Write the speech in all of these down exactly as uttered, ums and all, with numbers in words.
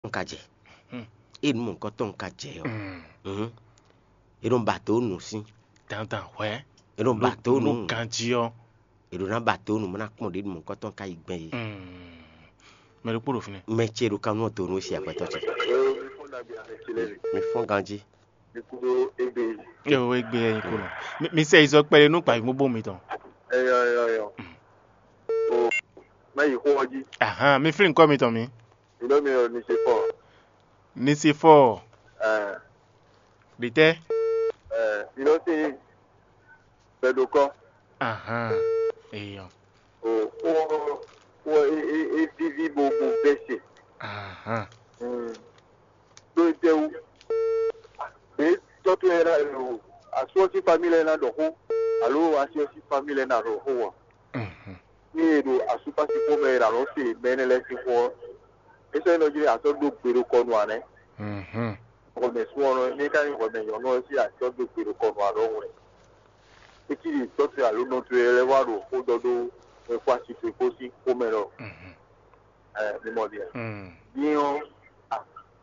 ka jɛ. Hmm. Ée nǔ mɔ̌hunkɔtɔn ka jɛ ɔ́, Hmm. mhm, è nɔ ba dǒ nǔ sín. Dandan hwɛ̌. È nɔ ba dǒ nǔ. Nú ganjí ɔ́. È ɖǒ ná ba dǒ nǔ, má ná kpɔ́n ɖě nǔ mɔ̌hunkɔtɔn ka yi gbɛn é. Hmm. Mɛ ɖokpó ɖo fínɛ́. Mɛ ce ɖo kan nú ɔ dǒ nú e se agbɛtɔ ce. Mi fɔ́n ganjí. Yo, égbé yɛ nyí kó nɔ. Mi, mi sɛ yi zɔ kpɛɖé nú gbavǐ mobó mitɔn. Eyɔ, eyɔ, eyɔ. O, má yi xó ɔ́ jí. Ahan, mi flín kɔ mitɔn mi. Ìlú mi ò ní ṣe fɔ. Ní ṣe fɔ. Ẹ, Ɖitɛ. Ẹ, ìlú sí gbẹdokọ. Ahan, eyɔ. O, o, o, e, e, e vivi bo bo bɛse. Ahan. Mm. Ɖó é tɛ́wú. Ɖě tɔ́ towe ná ɖo asú ɔ́ sín famíli lɛ́ɛ ná ɖɔ xó, alo asi ɔ́ sín famíli lɛ́ɛ ná ɖɔ xó ɔ́, Mhm. ní e ɖo asúkpásíkpó mɛ e ɖo alɔ̌ se mɛ énɛ́ lɛ́ɛ sín xó ɔ́, é sɔ́ nyí ɖɔ jí asɔ́ dó gbe ɖo kɔ nú ǎ nɛ́. Mhm. Hwɛmɛ súnnu ɔ́, ní é ka nyí hwɛmɛ nyɔ̌nu ɔ́ sín asɔ́ dó gbe ɖo kɔ nú ǎ ɖɔhun wɛ. É cí ɖi tɔ́ towe alo nɔ towe lɛ́ɛ wá ɖo xó ɖɔ ɖó wɛnxó asi towe kpó sín xó mɛ ɖɔ. Mhm. Ɛ, mi mɔ ɖi a? Mm. Din ɔ́, a,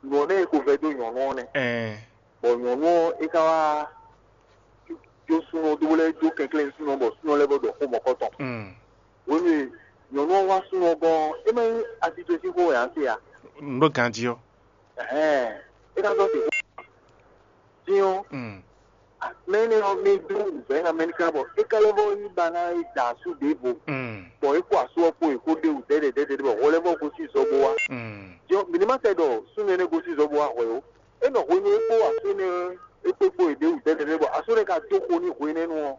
nǔ ɔ́ nɛ́ e ko vɛ́ dó nyɔ̌nu ɔ́ nɛ́. Ɛɛ. Bɔ nyɔ̌nu ɔ́, é ka wá jó súnnu ɔ́ dó bó lɛ́ dó kɛnklɛ́n súnnu ɔ́, bɔ súnnu ɔ́ lɛ́ vɔ́ ɖɔ xó mɔ̌kɔtɔn. Mm. Hwenu e nyɔ̌nu ɔ́ wá súnnu ɔ́ gɔ́n ɔ́, é má nyí asitwesíxó wɛ ǎ se a? Nǔ ɖo ganjí ɔ́. Ɛhɛn, é ka sɔ́ se xó. Din ɔ́, Mm. mɛ énɛ́ ɔ́, mɛ e dó wǔvɛ́ ná mɛ ní ká bɔ é ka lɛ́ vɔ́ yí ba ná yi da asú ɖěvo, Mm. bɔ é kpó asú ɔ́ kpó è kó ɖe wǔ dɛ́dɛ̌dɛ́dɛ́ bɔ hwɛ lɛ́ vɔ́ gosín zɔ bó wá. Mm. Din ɔ́, mǐ ní má sɛ ɖɔ súnnu énɛ́ gosín zɔ bó wá hwɛ ó. É nɔ hwenu e é kpó asú énɛ́ é kpé kpó è ɖě wǔ dɛ́dɛ́dɛ́ bɔ asú énɛ́ ka dó xo n'i hwenɛ́nu ɔ́.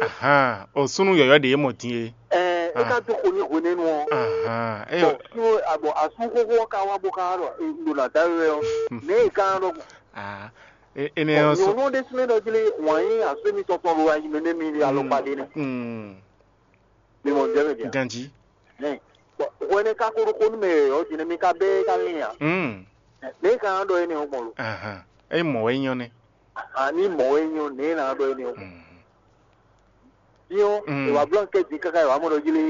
Ahan, o súnnu yɔ̌yɔ́ ɖě e mɔ din é. Ɛɛ, é ka dó xo n'i hwenɛ́nu ɔ́. Ahan, é Bɔ súnnu abɔ asú xóxó ɔ́ ka wá bó ka wá ɖɔ è ɖo nǎ dá we wɛ ɔ́, nɛ̌ è ka wá ɖɔ gbɔn? Ah, é- énɛ́ Bɔ ɔ́ sɔ. Nyɔ̌nu ɔ́ ɖésú nɛ́ ɖɔ jí lé wǎn nyí asú émítɔn tɔn ɖo ayi mɛ nɛ́ mi ɖi alɔkpa ɖé nɛ́. Mm. Mi mɔ jɛ mɛ dia? Ganjí. Nɛ. Bɔ hwɛ nɛ ka ko ɖo xó nú mɛ yɔ̌yɔ́ din nɛ́ mi ka bɛ́ ká lɛ́n ǎ. Mm. Nɛ̌ è ka wá ɖɔ énɛ́ ɔ́ gbɔn lo? Ahan, é mɔ wɛ nyɔ́ nɛ́. Ani mɔ̌ wɛ nyɔ́ nɛ̌ è nǎ ɖɔ énɛ́ ɔ́ gbɔn? Mm. Din ɔ́, Mm. è wǎ bló ankɛ́ din káká è wǎ mɔ ɖɔ jí lé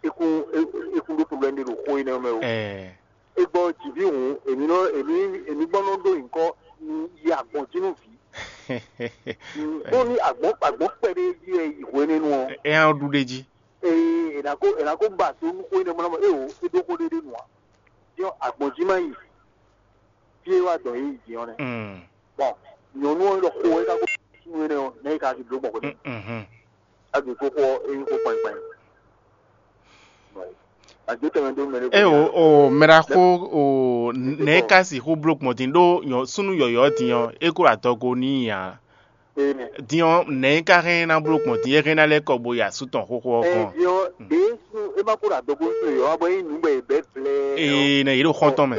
é kún é- é kún ɖó problème ɖé ɖo xó énɛ́ ɔ́ mɛ ó. Ɛɛ. É gbɔ jǐví hǔn èmi nɔ èmi èmi gbɔn nɔ ɖó nyǐkɔ yi agbɔ̌n jí nú vǐ. Bó ní agbɔ̌n agbɔ̌n kpɛɖé jí wɛ yi hwenɛ́nu ɔ́, É hɛn ɔ́ ɖu ɖ'é jí. Ee, è nǎ kó è nǎ kó ba do nú xó énɛ́ mɔ é o é ɖó xó ɖé ɖé nu ǎ. Din ɔ́, agbɔ̌n jí má yi fí é wá dɔn yě yi din ɔ́ nɛ́. Mm. Bɔn nyɔ̌nu ɔ́ ɖɔ xó é ká kó súnnu énɛ́ ɔ́, nɛ̌ é ka jí bló gbɔn xwé nɛ́? Mhm. Á ɖu xó xó ɔ́, é nyí xó kpanyikpanyi. Àgbétɛ̀mɛ ɖó mɛ ɖé. E o o mɛɖaxó o nɛ̌ ka sixú bló gbɔn din ɖó nyɔ súnnu yɔ̌yɔ́ din ɔ́, é kó adɔgo n'i ǎ. Din ɔ́, nɛ̌ ka hɛn ná bló gbɔn din, é hɛn ná lɛ́ kɔ bo yi asú tɔn xóxó ɔ́ kɔn? Din ɔ́, ɖě súnnu é má kó ɖo adɔgo súnnu yɔ̌yɔ́ bɔ é nyí nǔ bɔ è bɛ̌ vlɛ́ɛ. Ee, nɛ yě ɖo xɔ́ntɔn mɛ.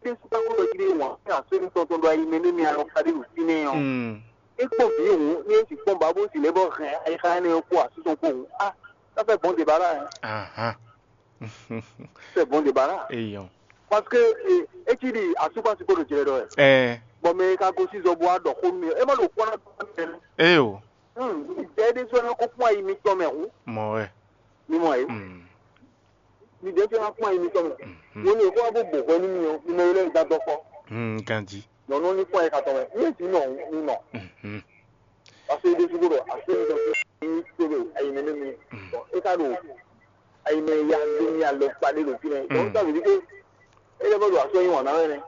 Tɛ́síbákú ɖɔ jí wǎn fɛ́ asɔ́ ní tɔn tɔn ɖo ayi mɛ nú mi alɔ ká ɖé ɖo fínɛ́ ɔ́. Mm. É kpɔ́n bǐ hǔn ní é sì kpɔ́n bǎ bó sì lɛ́ bɔ hɛn ayixa énɛ́ ɔ́ kpó asú tɔn kpó hǔn. Ah, ça fait bon débat là, hein. Ahan. C'est bon débat là. Eyɔn. Parce que eh, é cí ɖi asúkpá sí kpó ɖo jlɛ ɖɔ wɛ. Ɛ. Bɔ mɛ e ka gosín zɔ bó wá ɖɔ xó nú mi ɔ́, é má ɖo kpɔ́ ná dó wá nú mɛ. Éyo. Hmm, ìdá é ɖésú ɔ́ ná kó kpɔ́n ayi mitɔn mɛ hǔn. Mɔ wɛ. Mi mɔ ɛ. Mm. Mi ɖětɛ́ ná kpɔ́n ayi mitɔn mɛ. Mhm. Wo ní èkó wá bó bò hwɛ nú mi ɔ́, mi mɛ e lɛ́ da dɔkɔ. Mm, ganjí. Nyɔ̌nu ní kpɔ́n ayi katɔn mɛ. Ní èsì nɔ ní nɔ. Mhm. Parce que ɖésú ɖo asé mi ɖɔ ní tó ɖo ayi mɛ nú mi. Mm. Bon, é ka ɖo ayi mɛ ya ɖo mi alɔ kpa ɖé ɖo fínɛ́. Donc ça veut dire que é lɛ́ bɔ ɖo asɔ nyi wǎn ná wɛ nɛ́.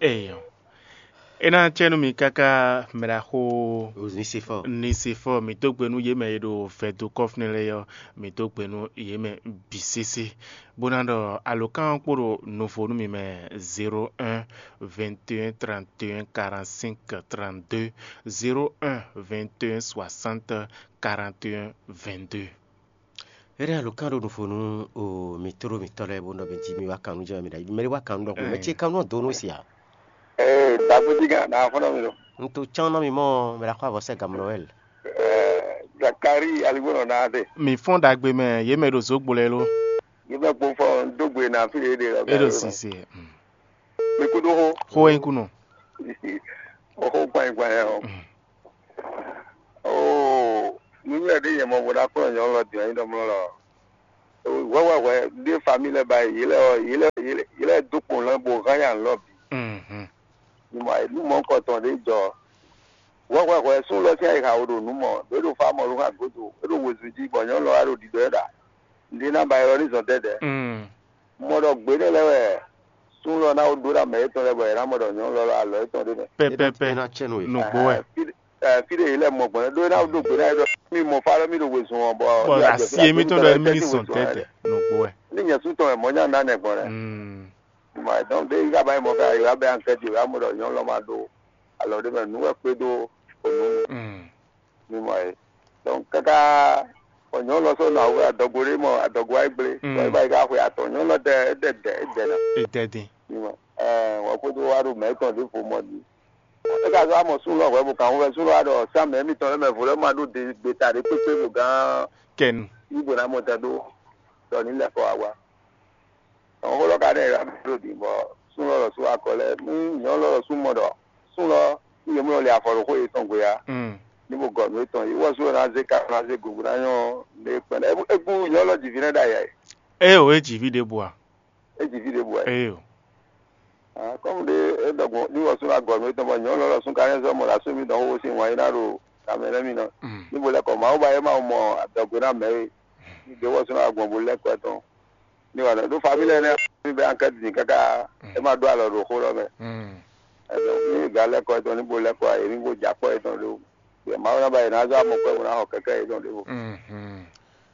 Eyɔ. É ná cɛ nú mi káká mɛɖaxó Onesifɔ. Nisifɔ, mǐ dó gbe nú yě mɛ e ɖo vɛ̌do kɔ́fínɛ lɛ́ɛ ɔ́, mǐ dó gbe nú yě mɛ bǐ sésé, bó ná ɖɔ alǒkan ɔ́ kpo ɖo nuvo nú mi mɛ: zéro un, vingt et un, trente et un, quarante-cinq, trente-deux, zéro un, vingt et un, soixante, quarante et un, vingt-deux. Éɖée alǒkan ɖo nuvo nú o mǐ tló mǐtɔn lɛ́ɛ bó nɔ mǐ jí mì wá kan nú jɛ mɛ mi ɖa mɛ ɖé wá kan nú ɖɔ mɛ ce kan nú ɔ́ dó nú sia. Ee, dagbe jí gán ɖa xɔnɔ mi ɖo. Un to cán nɔ mi mɔ mɛ ɖa xɔ avɔ sɛ gamlɔ wɛ. Ee, Zakari aligbó nɔ na de. Mi fɔn ɖagbe mɛ yě mɛ ɖo zǒgbo lɛ lo. Yě mɛ kpo fɔ dó gbe na fi ɖe ɖe. E ɖo sise. Mi kudo xo. Xo e kunɔ. Oxo gban gban yɛ o. Oo, nunywɛ ɖe yɛ mɔ bo ɖa kplɔ nyɔ lɔ diɔ nyi ɖɔ mlɔ lɔ. Hwɛhwɛhwɛ ɖé fami lɛ́ɛ ba yě lɛ́ɛ ɔ́, yě lɛ́ɛ yě lɛ́ɛ yě lɛ́ɛ dó kpɔn lɛ́ɛ bó hán nya lɔ bǐ. Ní mɔ nú mɔ̌ kɔtɔn ɖé jɔ. Hwɛhwɛhwɛ sún lɔ sín ayixa wo ɖo nǔ mɔ ɖě ɖo fá mɔ ɖó hàn gǒdo é ɖo wezun jí bɔ nyɔ̌nu lɔ wá ɖo ɖiɖɔ ɛ ɖa. Nǔɖé ná ba ylɔ́ ní zɔn dɛ́dɛ̌. Mɔ ɖɔ gbě nɛ́ lɛ́ɛ wɛ sún lɔ ná wó ɖó ná mɛ yětɔn lɛ́ɛ bɔ è nǎ mɔ ɖɔ nyɔ̌nu lɔ alɔ yétɔn ɖé mɛ. Pɛpɛpɛ. É ná cɛ nú we. Nǔgbó wɛ. Fí ɖé yě lɛ́ mɔ gbɔn ɖó é ná ɖó gbě ná é ɖɔ mí mɔ fá ɖɔ mí ɖo wezun ɔ́ bɔ bɔ asi émítɔn ɖɔ mí ní sɔn tɛ́tɛ. Nǔgbó wɛ. Ní nyɛ sú tɔn wɛ mɔ̌ nya ná nɛ gbɔn lɛ. Mm. Mɔ dɔn ɖé yi ka ba yi mɔ ká yi wá bɛ ankɛti wá mɔ ɖɔ nyɔ̌nu lɔ ma ɖó alɔ ɖé mɛ nǔ wɛ kpédó ònú. Mm. Mi mɔ e. Donc kaka bɔ nyɔ̌nu lɔ sɔ́ nɔ awu adɔgo ɖé mɔ adɔgo ayé gblé. Mm. Bɔ é ba yi ká xwe atɔn nyɔ̌nu lɔ dɛ é dɛ dɛ é dɛ ná. Èdɛdin. Mi mɔ ɛɛ wɔ kpédó wá ɖo mɛ tɔn ɖěvo mɔ ɖi. É ka zɔ́ amɔ sún lɔ hwɛ bo kan hwɛ sún lɔ wá ɖɔ sán mɛ mitɔn lɛ mɛ vo lɛ ma ɖó de gbeta ɖé kpékpé bo gán Kɛnu. Yí bo ná mɔ tɛ ɖó ɖɔ ní lɛ́ kɔ wá wá. Xó lɔ ka ɖe yě ɖo ɖi bɔ sún lɔ lɔ sú akɔ lɛ́ɛ nú nyɔ̌nu lɔ lɔ sú mɔ ɖɔ sún lɔ nú yě mɔ lɛ afɔ ɖo xó yětɔn gbe ǎ. Mm. Ní mo gɔ nǔ etɔn yě wɔ sú lɔ ná zé ká ná zé gugu ná nyɔ́ lé kpɛn é gbú nyɔ̌nu lɔ jǐví nɛ́ ɖ'ayǐ ǎ. Ée o, é jǐví ɖěbǔ a? É jǐví ɖěbǔ ǎ. Ée o. Kɔ́mu ɖé é ɖɔ gbɔn ní wɔ sú ná gɔ nǔ etɔn bɔ nyɔ̌nu lɔ lɔ sú ka nyɛ zɔ́ mɔ ɖo asú mi dɔn xóxó sín wǎn é ná ɖo kamɛ lɛ́ɛ mi nɔ. Mm. Ní bo lɛ́ kɔ Mawu ba é ma mɔ adɔgo ná mɛ é. Ní ɖě wɔ sú ná gbɔn bo lɛ́ kɔ tɔn. Ní wà lɛ ɖó famílí ɛnɛ mi bɛ ankɛ́ din káká é má ɖó alɔ ɖo xó lɔ mɛ. Ɛdɔn ní ga lɛ́ kɔ tɔn ní bo lɛ́ kɔ ayé ní bo jɛ akpɔ́ yětɔn ɖó. Yɛ Mawu ná ba yě ná zɔ́ amɔ kpɛ́ bó ná xɔ kɛ́kɛ́ yětɔn ɖěvo.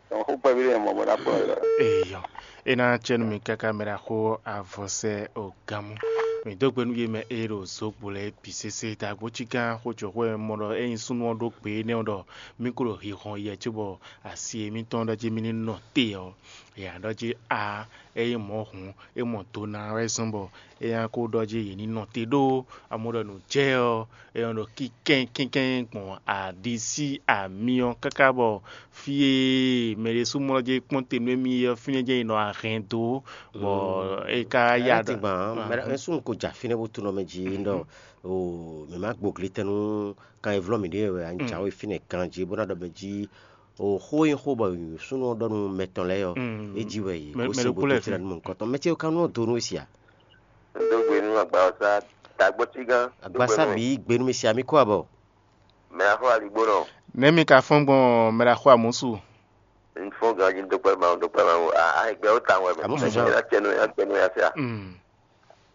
Dɔn xó kpɛví ɖé mɔ bó ná kplɔ́n yě lɔ. Eyɔ, é ná cɛ nú mi káká mɛ ɖaxó avɔsɛ ogámú. Mi dó gbe nú yě mɛ e ɖo zǒgbo lɛ́ɛ bǐ sésé. Dagbo cí gán xó jɔ xó e mɔ ɖɔ ényí súnnu ɔ́ ɖó gbe énɛ́ ɔ́ ɖɔ mí kó ɖo hihɔn yɛ cóbɔ asi e mítɔn ɖɔ jí mí ní nɔ te ɔ́, yě ná ɖɔ jí a é nyí mɔ̌ hǔn é mɔ do ná wɛ zɔ́n bɔ é ná kó ɖɔ jí yě ní nɔ te ɖó amɔ̌ ɖɔ nǔ jɛ ɔ́, é nɔ ɖo kínkɛ́n kínkɛ́n gbɔn aɖisí amyɔ káká bɔ fí e mɛ ɖésú mlɔ́ jɛ kpɔ́n te nú émí ɔ́, fínɛ́ jɛ́n è nɔ ahɛn dó, bɔ é ka yá ɖɔ. Tigban mɛ súnnu ko ja fínɛ́ bó tunɔ mɛ jí ɖɔ o mɛ má gboglí tɛn nú kan e vlɔ́ mǐ ɖe wɛ anyí jǎwe fínɛ́ ganjí bó ná ɖɔ mɛ jí o xó e xó bɔ súnnu ɔ́ ɖɔ nú mɛ tɔn lɛ́ɛ ɔ́, é jí wɛ yě bó se bó tɛ́ nú mɔ̌hunkɔtɔn mɛ ce ka nú ɔ́ do nú é sia. Dó gbe nú agbawɔsá dàgbɔ́ cí gán. Agbasá bǐ gbe nú mi sia mí kó abɔ. Mɛ axɔ aligbó nɔ. Nɛ̌ mi ka fɔ́n gbɔn mɛ ɖaxó amǔsu? N fɔ́n ganjí dókpɛ́ Mawu dókpɛ́ Mawu a a gbɛ ó ta wɛ mɛ. Amúsùn sɔ́. Ɛ ná tɛnu ɛ ná tɛnu ya fia. Mm.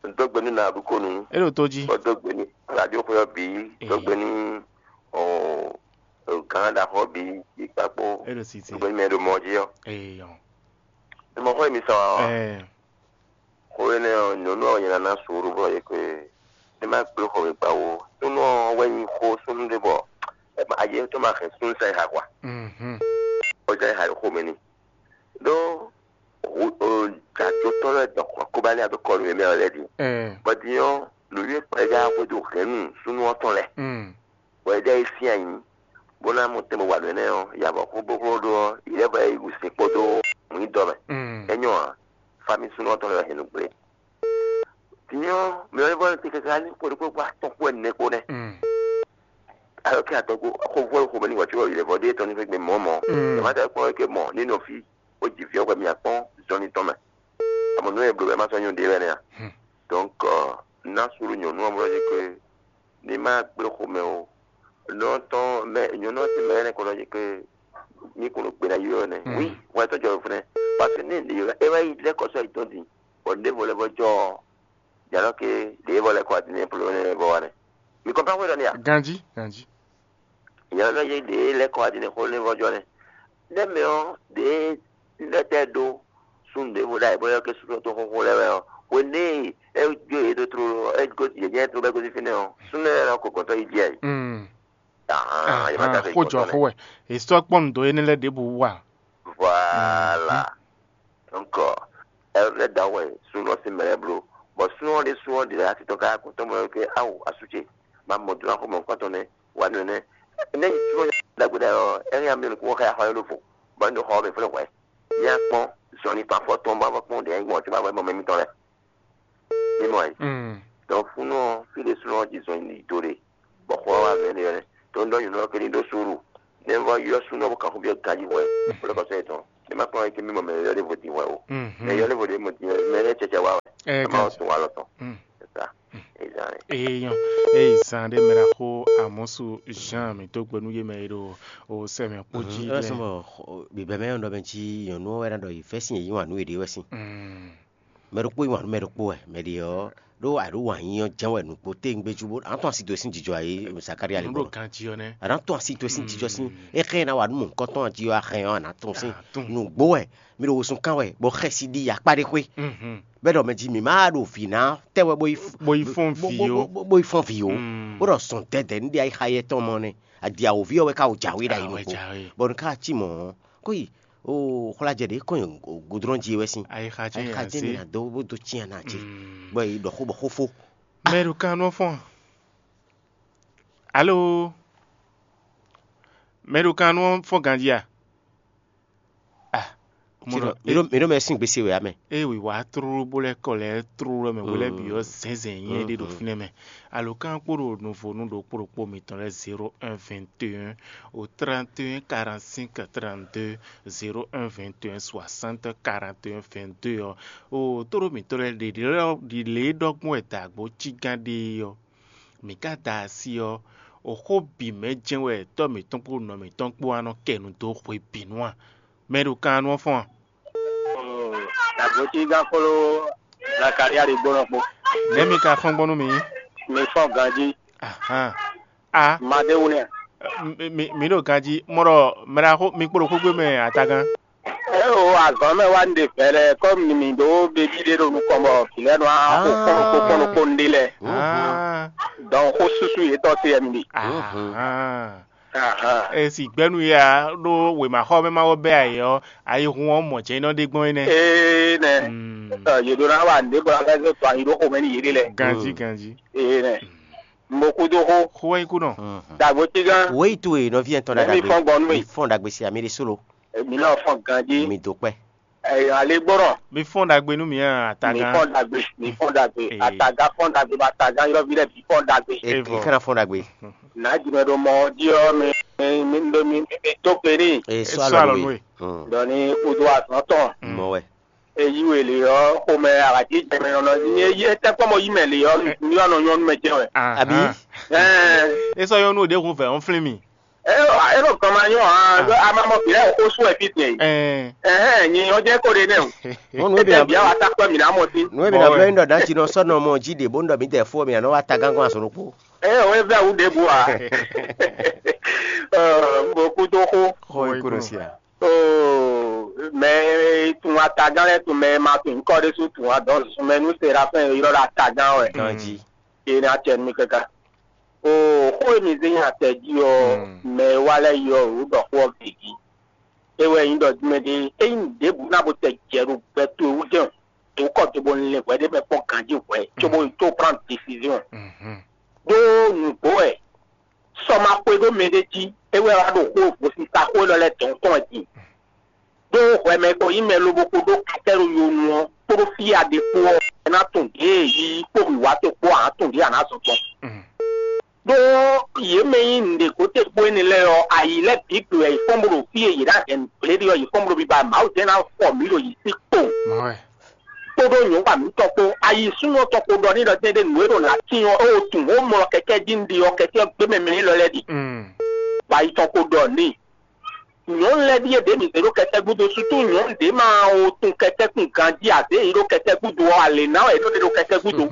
N dó gbe nú Nabuko nu. É ɖo tó jí. Bɔ dó gbe ní radio xwe ɔ́ bǐ dó gbe ní ɔ gán ɖaxɔ bǐ ikpakpo. É ɖo sisi. Dó gbe ní mɛ ɖo mɔ jí ɔ́. Eyɔ. Ɛ mɔ xɔ mi sɔ ɔ. Ɛ. Xó énɛ́ ɔ́, nyɔ̌nu ɔ́ nyɛ ná ná suúlu bɔ é kwe é má gblé xɔmɛ gba ó. Súnnu ɔ́ wɛ nyí xó súnnu ɖé bɔ é ma ayé tɔn ma hɛn súnnu sɛn ha hwa. Mhm. Ó jẹ́ ha xomɛ ni. Ɖó jajotɔ́ lɛ́ɛ dɔn xɔ kóbá ní abɛ kɔnu yě mɛ ɔ́ lɛ́ɛ din. Ɛ. Bɔ din ɔ́, nǔnywɛ́ kplɔ́ é já xwedó hɛ̌nnu súnnu ɔ́ tɔn lɛ́ɛ. Mm. Bɔ é ɖɔ é sín anyi, bó ná mɔ tɛn bó wa nǔ énɛ́ ɔ́, ya bɔ xó bó xló ɖó ɔ́, yi lɛ́ bɔ é yi wǔ sin kpódó mǔnyídɔ mɛ. Mm. É nyɔ́ ǎ, fámí súnnu ɔ́ tɔn lɛ́ wɛ hɛn nǔ gblé. Din ɔ́, mɛ ɔ́ é vɔ te káká ní xwe ɖokpó kpó atɔn kpó ɛnɛ kpó nɛ́. Mm. Alɔ kí adɔgo xovɔ xomɛ ní wàtí wɔ yi lɛ vɔ ɖé tɔn ní fɛ gbé mɔ mɔ. Mm. Ɛ má tɛ kpɔn ké mɔ ní nɔ fí ó jì fí ɔ́ hwɛ mi akpɔn zɔnlin tɔn mɛ. Àmọ́ nú ɛ bló ɛ má sɔ́ nyɔ́ ɖé wɛ nɛ́ a. Hmm. Donc ná sulu nyɔ̌nu ɔ́ mlɔ́ jí ké ní má gblé xomɛ o. Nɔ tɔn mɛ nyɔ̌nu ɔ́ ti mɛ ɛnɛ kɔnɔ jí ké ní kún ɖo gbe ná yi ɔ́ nɛ. Hmm. Oui, wọ́n ɛ tɔ́ jɔ fúnɛ. Parce que ní ǹdí yɔ é wá yi lɛ́ kɔ sɔ́ yi tɔn din. Bɔ ɖěvo lɛ́ vɔ jɔ ɔ́, jǎnɔ ké ɖěvo lɛ́ kɔ adinɛ plɔ́ nɛ vɔ wa nɛ. Mi kɔn pán xwé ɖɔ n'i a? Ganjí, ganjí. Nyɔ̌nu ɔ́ yí ɖě lɛ́ kɔ adinɛ xó nɛ vɔ jɔ nɛ. Nɛ́ mɛ ɔ́, ɖě lɛ́ tɛ ɖó súnnu ɖěvo ɖ'ayǐ bɔ é ké súnnu tó xóxó lɛ́ɛ wɛ ɔ́, hweɖée é jó yě dó tlóló ɔ́, é gosín yě jɛ́n tlóló bɔ é gosín fínɛ́ ɔ́, súnnu lɛ́ɛ ná ko gɔ̌n tɔ́ yi jí ayǐ. Mm. Ahan, yě má ka Ahan, xó jɔ xó wɛ. Histoire kpɔ́n nǔ dó énɛ́ lɛ́ɛ ɖěbǔ wa. Voilà. Donc, ɛ lɛ́ da wɛ súnnu ɔ́ sín mɛ lɛ́ɛ bló. Bɔ súnnu ɔ́ ɖésú ɔ́ ɖě asi tɔn ká kún tɔn mɔ ké awu asú ce, ma mɔ dó ná xó mɔ̌hunkɔtɔn nɛ́, wa nú nɛ́. Nɛ́ súnnu ɔ́ ɖagbe ɖa ɔ́, ɛ hɛn amyɔ nukún xá xɔ yó ló fo, bɔ é ɖo xɔ ɔ́ mɛ flɛ́ hwɛ̌. Yá kpɔ́n, zɔn ní tɔn afɔ tɔn bá vɔ kpɔ́n ɖě nyí gbɔn tí ma vɔ mɔ mɛ mitɔn lɛ́ɛ. Mí mɔ ɛ. Mm. Donc súnnu ɔ́, fí ɖé súnnu ɔ́ jí zɔn yi do ɖe, bɔ xɔ ɔ́ wá vɛ̌ ɖe ɔ́, tó ń ɖɔ nyɔ̌nu ɔ́ ké ní ɖó suúlu. Nɛ́ vɔ ylɔ́ súnnu ɔ́ bó kan xó byɔ́ ganjí hwɛ, bó lɛ́ kɔ sɔ́ yětɔn. Ne ma kpɔ́n eke mi mɔ mɛ yɔ ɖěvo din wɛ o. Mɛ yɔ ɖěvo ɖě mɔ din wɛ, mɛ lɛ́ cɛcɛ wa wɛ. Ɛ ma wɔ tun wa lɔ tɔn. Sesa. Ezan. Eyan, ezan ɖe mɛ ɖaxó Amɔsu Jean mi dó gbe nú yé mɛ e ɖo o sɛ mɛ kpó jí lɛ. Bibɛ mɛ yɔn ɖɔ mɛ jí nyɔnu wɛ ná ɖɔ yi fɛ sin yi wà nú yě ɖe wɛ sin. Mɛ ɖokpó yi wà nú mɛ ɖokpó wɛ, mɛ ɖě ɔ́ ɖó aɖó wǎn yí ɔ́ jɛ́n wɛ nǔgbó téŋgbé jú bó a nǎ tɔ́n asi dó e sín jijɔ ǎ é Zakaria lí Nǔ ɖo gbɔn. Ganjí ɔ́ nɛ́. A nǎ tɔ́n asi dó e sín jijɔ sín é xlɛ́ ná wa nú mɔ̌hunkɔtɔn ɔ́ jí ɔ́ a hɛn ɔ́ a nǎ tɔ́n sín nǔgbó wɛ. Mi ɖo wosùn kán wɛ bɔ xɛsi ɖi akpá ɖé xwé. Bɛ́ ɖɔ mɛ jí mǐ má ɖo vǐ ná tɛ́ wɛ bó yi f- Bó yi fɔ́n vǐ ó. Bó- bó- bó yi fɔ́n vǐ ó. Bó ɖɔ zɔn dɛdɛ ní ɖe ayixa yɛ tɔn mɔ nɛ. Adi awǒví ɔ́ wɛ ká wò jǎwe ɖo ayi Awɛ nukó. Jǎwe. Bɔ nú ká cí mɔ̌ ɔ́, kó yi o xwlajɛ ɖě kɔn nyi godrɔn jí wɛ sín. Ayixa jɛ́n Ayixa yě jɛ́n azé. Ní ado bó dó cyán ná jí. Bɔ yi ɖɔ xó bɔ xó fó. Mɛ ɖo kan nú ɔ́ fɔ́n. Alo. Mɛ ɖo kan nú ɔ́ fɔ́n ganjí a? Ah, Mì ɖo mì ɖo mɛ sín gbèsè wɛ amɛ. Eye wǐwá tlóló bó lɛ́ kɔ lɛ́ tlóló mɛ wé lɛ́ bǐ ɔ́ zɛ̌nzɛ̌n nyɛ ɖé ɖo fínɛ́ mɛ. Alǒkan kpó ɖo nuvonu ɖokpó ɖokpó mitɔn lɛ́ɛ zéro un vingt et un au trente et un quarante-cinq trente-deux zéro un vingt et un soixante quarante et un vingt-deux ɔ́, o tóɖó mǐtɔn lɛ́ɛ ɖe ɖi lě e ɖɔ gbɔn wɛ dǎgbó cí gán ɖe é ɔ́, mǐ ka da asi ɔ́, oxó bǐ mɛ jɛ́n wɛ tɔ́ mǐtɔn kpó nɔ mǐtɔn kpó wá nɔ kɛ nu dó hwebǐnu a? Mɛ ɖo kan ɔ́ nú ɔ́ fɔ́n a? Dǎgbócí gán kpló Zakalia ɖi gbónɔ kpó. Nɛ̌ mi ka fɔ́n gbɔn nú mǐ? Mi fɔ́n ganjí. Ahán. A. Madéwu nɛ́. Mi ɖo ganjí mɔ ɖɔ mɛɖaxó mi kpo ɖo xwégbé mɛ atagán. É o azɔ̌ mɛ wá ɖe vɛlɛ kɔmi mi ɖó bebí ɖé ɖo nukɔn bɔ vǐ lɛ́ɛ nɔ wá xo kpɔ́n kpó kpɔ́n kpó ɖé lɛ́ɛ. Dɔn xó súsú yětɔn se wɛ mi ɖe. Ahán. Esi gbɛ́nu ya ɖó wěmaxɔ mɛ ma wɔ bɛ́ ayǐ ɔ́, ayihun ɔ́ mɔ jɛ́n nɔ ɖe gbɔn é nɛ́. Ee nɛ. Yě ɖó ná wa nǔɖé bɔ ná zɔ to ayi ɖó xomɛ n'i yěɖée lɛ. Ganjí ganjí. Ee nɛ. Mo kú dó xó. Xó wɛ nyí kú nɔ. Dàgbò tí gán. Wéyí towe nɔví ɛtɔn Ẹ̀mí ɖagbe. Fɔ́n gbɔn nú Mi mi. Fɔ́n ɖagbe si amí ɖé solo. Èmi náà fọ́n ganjí. Mi dó kpẹ́. Ẹ̀yàn alé gbọ́rọ̀. Mi fɔ́n ɖagbe nú mǐ a Mi atagán. Fọ́n dàgbé. Mi fọ́n dàgbé. Ee. Àtàgá fọ́n dàgbé. Bàtàgá yọ̀bí rẹ̀ bí fọ́n dàgbé. E Evɔ. E kana fɔ́n ɖagbe. N'a jumɛn ɖo mɔ ɔ́ jí ɔ́ mi mi mi mi mi mi mi tó gbe n'i. E sɔ Sɔ alɔ alɔ nú nú e. E. Dɔ ní kúdó azɔn tɔn. Mɔ wɛ. Eyi we le ɔ xomɛ aɖaji jɛmɛ nɔ nɔ nyi eyi etɛ kpɔ mɔ yi mɛ le ɔ mi ɔ nɔ nyɔnu mɛ jɛ wɛ. Abi. Ahán. Ɛɛ E sɔ nyɔnu ɖe hun vɛ ɔn flin mi. E e ɖo gɔma nyɔ hã a ma mɔ bi lɛ o xo sún ɛ fi tɛ. Ɛɛ. Ɛhɛn nyi ɔ jɛ ko ɖe nɛ o. Wọn nue Etɛ bia bia wa ta kpɛ mi na mɔ si. Nue bia Bɔ bia wɛ. Yin dɔ dan tsi nɔ sɔ nɔ mɔ ji ɖe bo nɔ mi tɛ fo mi anɔ wa ta gángan azɔn ɖokpo. E o e vɛ wu ɖe bu a. Ɔ mo kú tó xó. Xɔ yi kúrò sí a. Oo mɛ tun atagán lɛ tun mɛ ma tun nkɔ ɖe su tun adɔn sun mɛ nu serafin yrɔ ɖo atagán wɛ. Ganji. Ena tɛ nu kaka. Oo xó e mi zé nyi atɛ jí ɔ, mɛ e wá lɛ́ɛ yi ɔ wǔ ɖɔ xó ɔ gěgé. É wɛ nyí ɖɔ mɛ ɖé é nyí nǔɖébǔ ná bo tɛ jɛ ɖo gbɛ towe wú jɛ́n o. È wú kɔ do bo lin hwɛ ɖé mɛ kpɔ́n ganjí hwɛ cóbó yi tó prendre décision. Ɖó nǔgbó wɛ sɔ ma xwe ɖó mɛ ɖé jí, é wɛ wá ɖo xó gosisa xó élɔ́ lɛ́ɛ dɔ̌n tɔn wɛ din. Ɖó hwɛ mɛ ko nyí mɛ lobo ko ɖó kɛtɛ́ ɖo yonu ɔ́ kpódó fí e a ɖe kpó ɔ́, é ná tunwun ɖěe yi kpó wǐwá towe kpó ǎ tunwun ɖě a nǎ zɔn gbɔn. Ɖó yě mɛ nyí nǔɖé gǒtɛ́gbó énɛ́ lɛ́ɛ ɔ́, ayǐ lɛ́ɛ bǐ gbe wɛ yě fɔ́n bó ɖo fí e yě ɖo adɛ̌ gblé ɖe ɔ́, yě fɔ́n bó ɖo biba Mawu jɛ́n ná fɔ mǐ ɖo yǐ sí kpowun. Mɔ̌ wɛ. Kpódó nyɔ̌nu mǐtɔn kpó. Ayi súnnu ɔ́ tɔn kpo ɖɔ n'i ɖɔ tɛ́nɖé nǔ e ɖo nǎ tín ɔ́, é wo tunwun wǒ mlɔ kɛkɛ́ jí un ɖe ɔ́, kɛkɛ́ ɔ́ gbé mɛ mɛ élɔ́ lɛ́ɛ ɖi. Mm. Bɔ ayi tɔn kpo ɖɔ n'i. Nyɔ̌nu lɛ́ɛ ɖíe ɖě mǐ zě ɖó kɛtɛ́ gúdo, sutu nyɔ̌nu ɖě ma wo tun kɛtɛ́ kun ganjí ǎ, zě yě ɖó kɛtɛ́ gúdo ɔ́, alě ná wɛ yě ɖó ɖe ɖo kɛtɛ́ gúdo.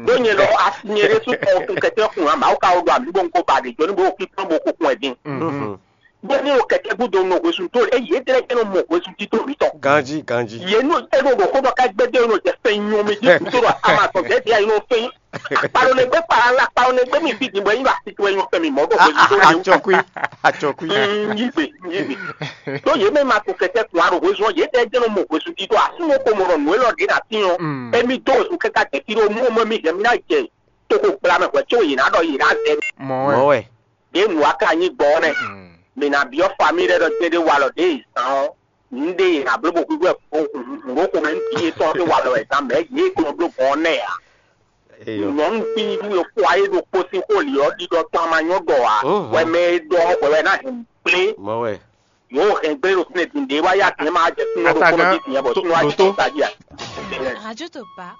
Ɖó nyɛ lɔ asi nyɛ ɖésú tɔn wo tun kɛtɛ́ kun ǎ, Mawu ka wo ɖɔ amǐ bó un ko ba ɖě jɔ ní bó wo kpínkpɔ́n bó ko kun wɛ din. Mhm. Bó ní o kɛkɛ gúdo nɔ hwesun tó, eye é tlɛ kɛ nɔ mɔ hwesun tító mǐtɔn. Ganjí, ganjí. Yě nɔ é nɔ ɖo xó ɖɔ ká gbɛdɛ nɔ jɛ fɛn nyɔ mɛ jí kútó ɖɔ ama tɔn dɛ dia yìí nɔ fɛn. Kpalo ne gbé kpala la kpalo ne gbé mi fi dìbò yín ba titun ẹ̀yìn fẹmi mọ bó hwesun tó lè wú. Atsɔkui, atsɔkui. Yí gbe, yí gbe. Tó yě mɛ ma to kɛkɛ kun aro hwesun yě tɛ jɛ nɔ mɔ hwesun tító asúnú ko mɔ nɔ nù élɔ́ ɖě na tín ɔ́. Emi dó hwesun kɛkɛ tɛ fi ɖo mú mɔ mi jɛ mi ná jɛ toko gbla mɛ hwɛ tso yě ná ɖɔ yě ná zɛ. Mɔ Mɔ wɛ. Wɛ. Ɖě nǔ wa ka nyí gbɔn ɔ́ nɛ́. Mǐ ná byɔ́ famíli lɛ́ɛ ɖɔ jɛ́n ɖé walɔ ɖě e zǎn ɔ́, nǔɖé e è nǎ bló bó hwíhwɛ́ nǔɖó xomɛ nú vǐ yětɔn ɔ́ ɖé walɔ wɛ zǎn mɛ̌ yě e kplɔ́n bló gbɔn ɔ́ nɛ́ ǎ. Eyɔ. Nyɔ̌nu fínnyíɖú e xwa é ɖokpó sín xó lǐ ɔ́ ɖiɖɔ tɔn ma nyɔ́ ɖɔ ǎ. Wɛ mɛ e ɖɔ ɔ́ hwɛ wɛ ná hɛn nǔ kplé. Mɔ wɛ. Yǒ hɛn gbé ɖo fínɛ́ din ɖě wá yá din ma jɛ súnmọ́ ɖokpónɔ Atagan dín din bɔ tó súnmọ́ wá dó jɛ tó. Tají a. Radio Topa.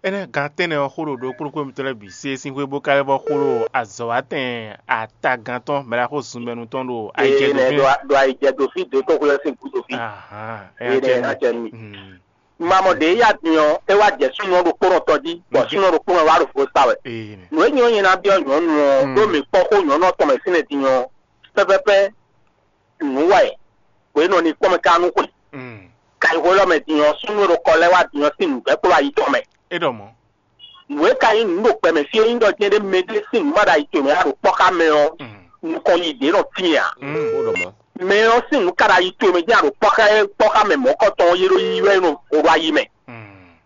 Énɛ́ gán tɛ́nnɛ ɔ́ xó ɖo ɖokpóɖokpó mitɔn lɛ́ɛ bǐ se sín xwé bó ka lɛ́ vɔ xó ɖo azɔ̌watɛn atagán tɔn mɛ ɖaxó zunbɛnu tɔn ɖo ayijɛ Ee, dó nɛ fínɛ́. Ɖo ɖo ayijɛ ɖo fí dǒ tó xwé ɔ́ sín gúdo fí. Ahán, é ná Ee, jɛ nɛ nú. Ná jɛ nú mi. Hmm. Mamɔ ɖě ya din ɔ́, é wá jɛ súnnu ɔ́ ɖokpónɔ tɔn jí, bɔ súnnu ɔ́ ɖokpónɔ wá ɖo vo sa wɛ. Ee, nɛ. Nǔ e nyí ɔ́ nyɛ ná byɔ́ nyɔ̌nu ɔ́, ɖó mǐ kpɔ́n xó nyɔ̌nu ɔ́ tɔn mɛ fínɛ́ din ɔ́, pɛ́pɛ́pɛ́ nǔ wɛ hwě nɔ ní kpɔ́n mɛ ká nú xwe. Kayixwé lɔ mɛ din ɔ́, súnnu e ɖo kɔ lɛ́ wá din ɔ́ sín nǔgbɛ́ kplɔ́ ayi tɔn mɛ. É ɖɔ mɔ̌. Nǔ e ka nyí nǔ ɖo gbɛmɛ fí é nyí ɖɔ jɛ́n ɖé mɛɖé sín nǔ ma ɖo ayi towe mɛ a ɖo kpɔ́ xá mɛ ɔ́, nukɔn yi ɖě nɔ tíin ǎ. Ó ɖɔ mɔ̌. Mɛ ɔ́ sín nǔ ka ɖo ayi towe mɛ jɛ́n a ɖo kpɔ́ xá kpɔ́ xá mɛ mɔ̌kɔtɔn ɔ́, yé ɖo yiyi wɛ nɔ xo ɖo ayi mɛ.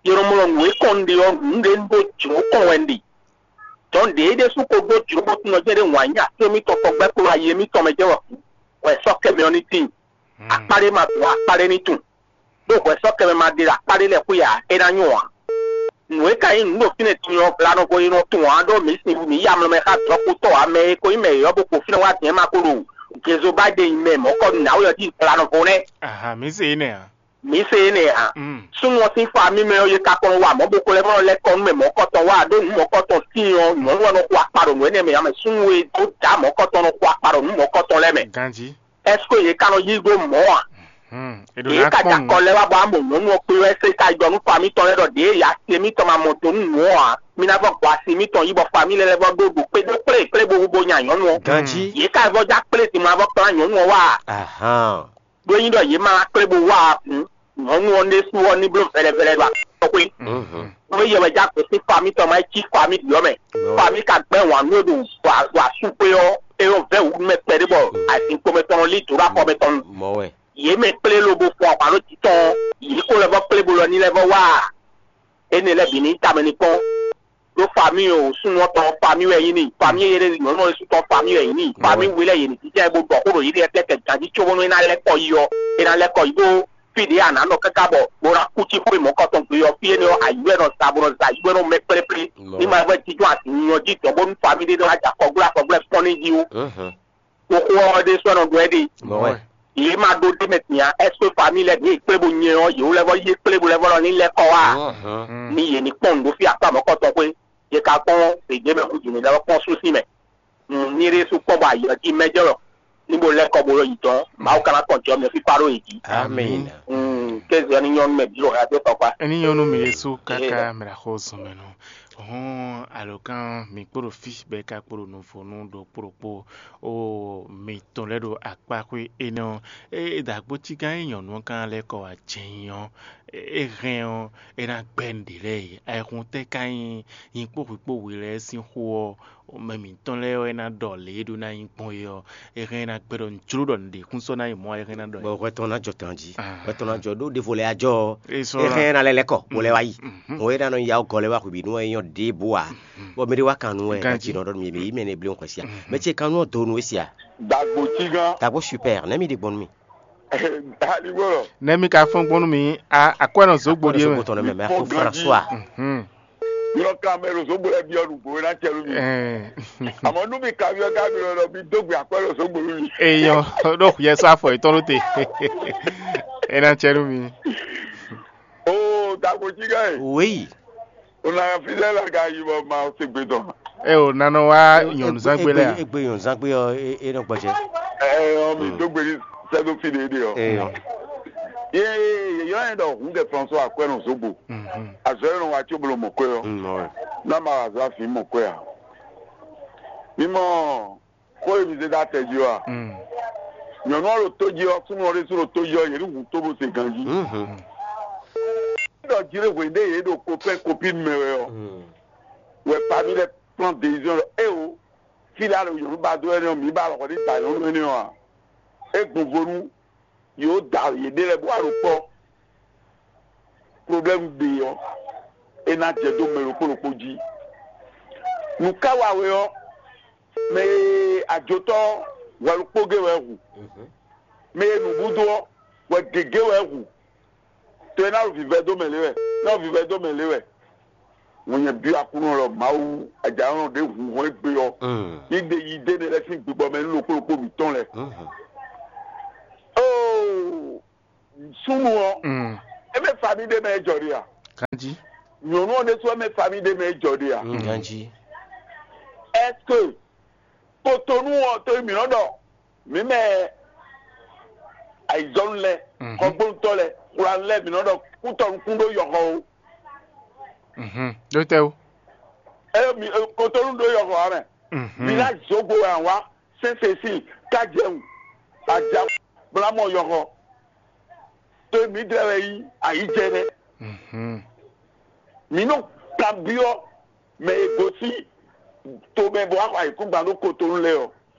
Yé nɔ mlɔ nǔ e kɔn un ɖe ɔ́, nǔ ɖé un ɖó jlǒ kɔn wɛ un ɖe. Dɔn ɖě é ɖésú ko ɖó jlǒ bó tunɔ jɛ́n ɖé wǎn nyi así émítɔn tɔn gbɛ́ kplɔ́ ayi émítɔn mɛ jɛ́n wɛ hwɛ sɔ́ kɛ mɛ ɔ́ ní tíin. Akpá ɖé ma dó akpá ɖé ní tunwun. Ɖó hwɛ sɔ́ kɛ mɛ ma ɖe ɖo akpá ɖé lɛ́ɛ xwé ǎ, é ná nyɔ́ ǎ. Nǔ e ka nyí nǔ ɖo fínɛ́ din ɔ́, vla nɔ ko e nɔ tunwun ǎ, ɖó mǐ sin mǐ yi amlɔ mɛ xá dɔ̌nkpotɔ́ ǎ, mɛ e ko nyí mɛ yɔ̌yɔ́ bó kpo fínɛ́ wá din ɔ́ ma ko ɖo Jezoba ɖe nyi mɛ mɔ̌kɔ nǎwe ɔ́ jí vla nɔ vo nɛ́. Aha, mǐ se énɛ́ ǎ. Mǐ se énɛ́ ǎ. Mm. Súnnu ɔ́ sín famí mɛ ɔ́, yě ka kɔn nɔ wa mɔ̌ bó ko lɛ́ vɔ́ nɔ lɛ́ kɔ nú mɛ mɔ̌kɔtɔn wá, ɖó nǔ mɔ̌kɔtɔn tíin ɔ́, nyɔ̌nu ɔ́ nɔ xo akpa ɖo nǔ énɛ́ mɛ ǎ mɛ. Súnnu e dó dǎ mɔ̌kɔtɔn nɔ xo akpa ɖo nǔ mɔ̌kɔtɔn lɛ́ɛ mɛ. Ganjí. Ɛseke yě ka nɔ yí ɖó mɔ̌ a? Hmm. È ɖo Yě ná ka kpɔ́n ja nǔ. Kɔ lɛ́ wá bɔ amɔ nyɔ̌nu ɔ́ kpé wɛ se ka yi ɖɔ nú fa mitɔn lɛ́ɛ ɖɔ ɖěe ya se mitɔn ma mɔ do nú nǔ ɔ́ ǎ. Mi ná vɔ gbɔ asi mitɔn yí bɔ fa mi lɛ́ lɛ́ vɔ ɖó ɖo kpé ɖó kplé kplé bo bo nya nyɔ̌nu ɔ́. Ganjí. Yě ka vɔ ja kplé din ma vɔ kplá nyɔ̌nu ɔ́ wá a? Ahán. Ɖó é nyí ɖɔ yě ma wá kplé bo wá a hǔn, nyɔ̌nu ɔ́ ɖésú ɔ́ ní bló vɛlɛvɛlɛ ɖo akɔ́xwé. Mhm. Nú yɛ wɛ já gosín fa mitɔn ma é cí fa mi ɖyɔ̌ mɛ. Fa mi ka gbɛ́ wǎn nú e ɖo ɖo asú xwé ɔ́, é nɔ vɛ́ wǔ nú mɛ kpɛɖé bɔ azinkpo mɛtɔn nɔ lí dǒ ɖo afɔ mɛtɔn nu. Mɔ̌ wɛ. Yě mɛ kplé lobo fun ahwan ɖó jǐ tɔn, yě ko lɛ́ vɔ kplé bo lɔ ní lɛ́ vɔ wá a? Énɛ́ lɛ́ɛ bǐ ní tamɛ ní kpɔ́n. Ɖó famíi o súnnu ɔ́ tɔn famíi wɛ nyí n'i, famíi e ɖe nyɔ̌nu ɔ́ ɖésú tɔn famíi wɛ nyí n'i, famíi we lɛ́ɛ yě ní jínjɔ́n ɛ bó ɖɔ xó ɖo yěɖée tɛ́ kɛ ganjí cóbónú é ná lɛ́ kɔ yi ɔ́, é ná lɛ́ kɔ yi ɖó fí ɖě a nǎ nɔ káká bɔ bó ná kú cí xwé mɔ̌kɔtɔn gbe ɔ́, fí énɛ́ ɔ́, ayǐ wɛ nɔ sa bó nɔ sa ayǐ wɛ nɔ mɛ kplé plé. Ní ma vɛ́ jínjɔ́n azǐn nyɔ jí dɔ̌n bónú famíi ɖé ná wá jɛ akɔgbléakɔgbléakpɔ́n ní jí ó. Ɖó xó ɔ́ ɖésú wɛ nɔ ɖɔ é ɖe. Mɔ̌ wɛ. Yě ma ɖó ɖ'é mɛ din ǎ, ɛseke famíi lɛ́ɛ ɖě kplé bo nyɛ ɔ́, yě wú lɛ́ vɔ yí kplé bo lɛ́ vɔ lɔ ní lɛ́ kɔ wá a? Ní yě ní kpɔ́n nǔ ɖó fí akpá mɔ̌kɔtɔn xwé. Yě ka kpɔ́n fějé mɛ xú jǐnú lɛ́ɛ kpɔ́n sú sín mɛ. Ní ɖésú kpɔ́n bɔ ayǐ ɔ́ jí mɛ jɛ wɛ ní bo lɛ́ kɔ bo yi dɔn, Mawu ka ná kɔn jɔ mɛ fífá ɖó yě jí. Amín. Kéze ɔ́ ní nyɔ́ nú mɛ bǐ ɖo xyadó tɔkpá. Ení nyɔ́ nú mi Yesu káká mɛ ɖo axɔ́ zɔn mɛ nɔ. Hɔn alɔkan mi kpo ɖo fí bɔ é ka kpo ɖo nuvɔnu ɖokpó ɖokpó o mitɔn lɛ́ ɖo akpáxwé énɛ́ ɔ́, é dǎgbócígán e nyɔ̌nu ɔ́ ka lɛ́ kɔ wá jɛ nyi ɔ́, é hɛn ɔ́, é ná gbɛ́ nǔɖé lɛ́ɛ e. Ayɛhun tɛ́ ka nyí nyikpó hwǐkpó we lɛ́ɛ sín xó ɔ́, mɛ mǐtɔn lɛ́ɛ wɛ ná ɖɔ lě e ɖó ná nyí gbɔn é ɔ́, é hɛn ná gbɛ́ ɖɔ un jló ɖɔ nǔɖé kún sɔ́ ná nyí mɔ̌ ɔ́, é hɛn ná ɖɔ. Bɔ hwɛ tɔn ná jɔ ganjí. Hwɛ tɔn ná jɔ ɖó ɖěvo lɛ́ɛ á jɔ ɔ́. É hɛn ná lɛ́ lɛ́ kɔ bó lɛ́ wá yi. Hɔn é ná nɔ ya gɔ́ lɛ́ wá hwebǐnu wɛ é nyɔ́ ɖěbǔ ǎ. Bɔ mɛ ɖé wá kan nú wɛ é ná ci nɔ ɖɔ nú mɛ yě mɛ nɛ blé xwɛ sí a. Mɛ ce kan nú ɔ do nú é sí a. Dagbo cí gán. Dagbo super nɛ́ mi ɖe gbɔn nú mi. Aligbɔlɔ. Nɛ́ mi ka fɔ́n gbɔn nú mi a akwɛ́ nɔ zǒgbo ɖíe mɛ. Tɔn nɛ mɛ mɛ afɔ François. Yɔ kan mɛ ɖo zǒgbo lɛ biɔ nǔgbó é ná cɛ nú mi. Àmọ́ nú mi ka biɔ ká mi lɔ mi dó gbe akwɛ́ ɖo zǒgbo nú mi. Eyɔn ɖo yɛ sɔ afɔ yětɔn ɖó te. É ná cɛ nú mi. Oo, dagbo cí gán e. Oui. O na fi lɛ la ka yi bɔ ma se gbe dɔn. Ɛ o nanɔ wa nyɔnuzangbe lɛ a. Egbe nyɔnuzangbe ɔ e nɔ gbɔjɛ. Ɛ ɔ mi dó gbe ní sɛdó fi ɖe ɖe ɔ. Eyɔ. Ye yeyɔ yẹn ɖɔ hun kɛ François akwɛ nɔ zogbo. Azɔ yẹn nɔ wa tso bolo mɔ kwɛ ɔ. N'a ma azɔ afi mɔ kwɛ a. Mi mɔ. Xó e mi zé dó atɛ jí ɔ́ a? Nyɔ̌nu ɔ́ ɖo tó jí ɔ́, súnnu ɔ́ ɖésú ɖo tó jí ɔ́, yě ní hu tó bó se ganjí. Ɖɔ jí ɖé hwenu ɖé yě ɖo kopɛ́n kopínu mɛ wɛ ɔ́, wɛ famille lɛ́ɛ prend décision ɖɔ éwo, fí lɛ́ɛ a ɖo nyɔ̌nu ba dó ɛnɛ́ ɔ́, mǐ ba alɔxɔ ní da nyɔ̌nu énɛ́ ɔ́ a? É gbɔn vo nú yě da yěɖée lɛ́ɛ bó wá ɖo kpɔ́. Problème ɖe ɔ́, é ná jɛ dó mɛ ɖokpó ɖokpó jí. Nǔ ka wa we ɔ́, mɛ e ajotɔ́ hwɛ ɖokpó gé wɛ hu, mɛ e nǔɖuɖu ɔ́ hwɛ gěgé wɛ hu. To e ná ɖo vivɛ dó mɛ lě wɛ, ná ɖo vivɛ dó mɛ lě wɛ. Wọ́n nyɛ byɔ́ Aklúnɔ lɔ Mawu, ajǎnɔ ɖě hun hɔn égbé ɔ́, ní ɖe yi dé ne lɛ́ sín gbígbɔ mɛ nú ɖokpó ɖokpó mǐtɔn lɛ́ɛ. Súnnu ɔ́, mm, é mɛ fami ɖé mɛ é jɔ ɖe a? Ganjí. Nyɔ̌nu ɔ́ ɖésú é mɛ fami ɖé mɛ é jɔ ɖe a? Mm, ganjí. Est-ce que Kotonu ɔ́, to e mǐ nɔ ɖɔ mǐ mɛ ayǐjɔnú lɛ́ɛ, mhm, xɔgbónútɔ́ lɛ́ɛ, xwlanu lɛ́ɛ, mǐ nɔ ɖɔ kútɔnukún ɖó yɔxɔ o. Mhm. Ɖó tɛ́ o? Eye mi Kotonu ɖó yɔxɔ ǎ mɛ. Mhm. Village Zogbo wɛ a wá, Sɛnsɛsi, Kajɛwun, Aja, Blamɔ yɔxɔ. To e mǐdɛɛ wɛ nyí ayǐjɛnɛ. Mhm. Mǐ nɔ kanbyɔ́ mɛ e gosín tomɛ bɔ wá xɔ ayǐkúngban ɖó Kotonu lɛ́ɛ ɔ́,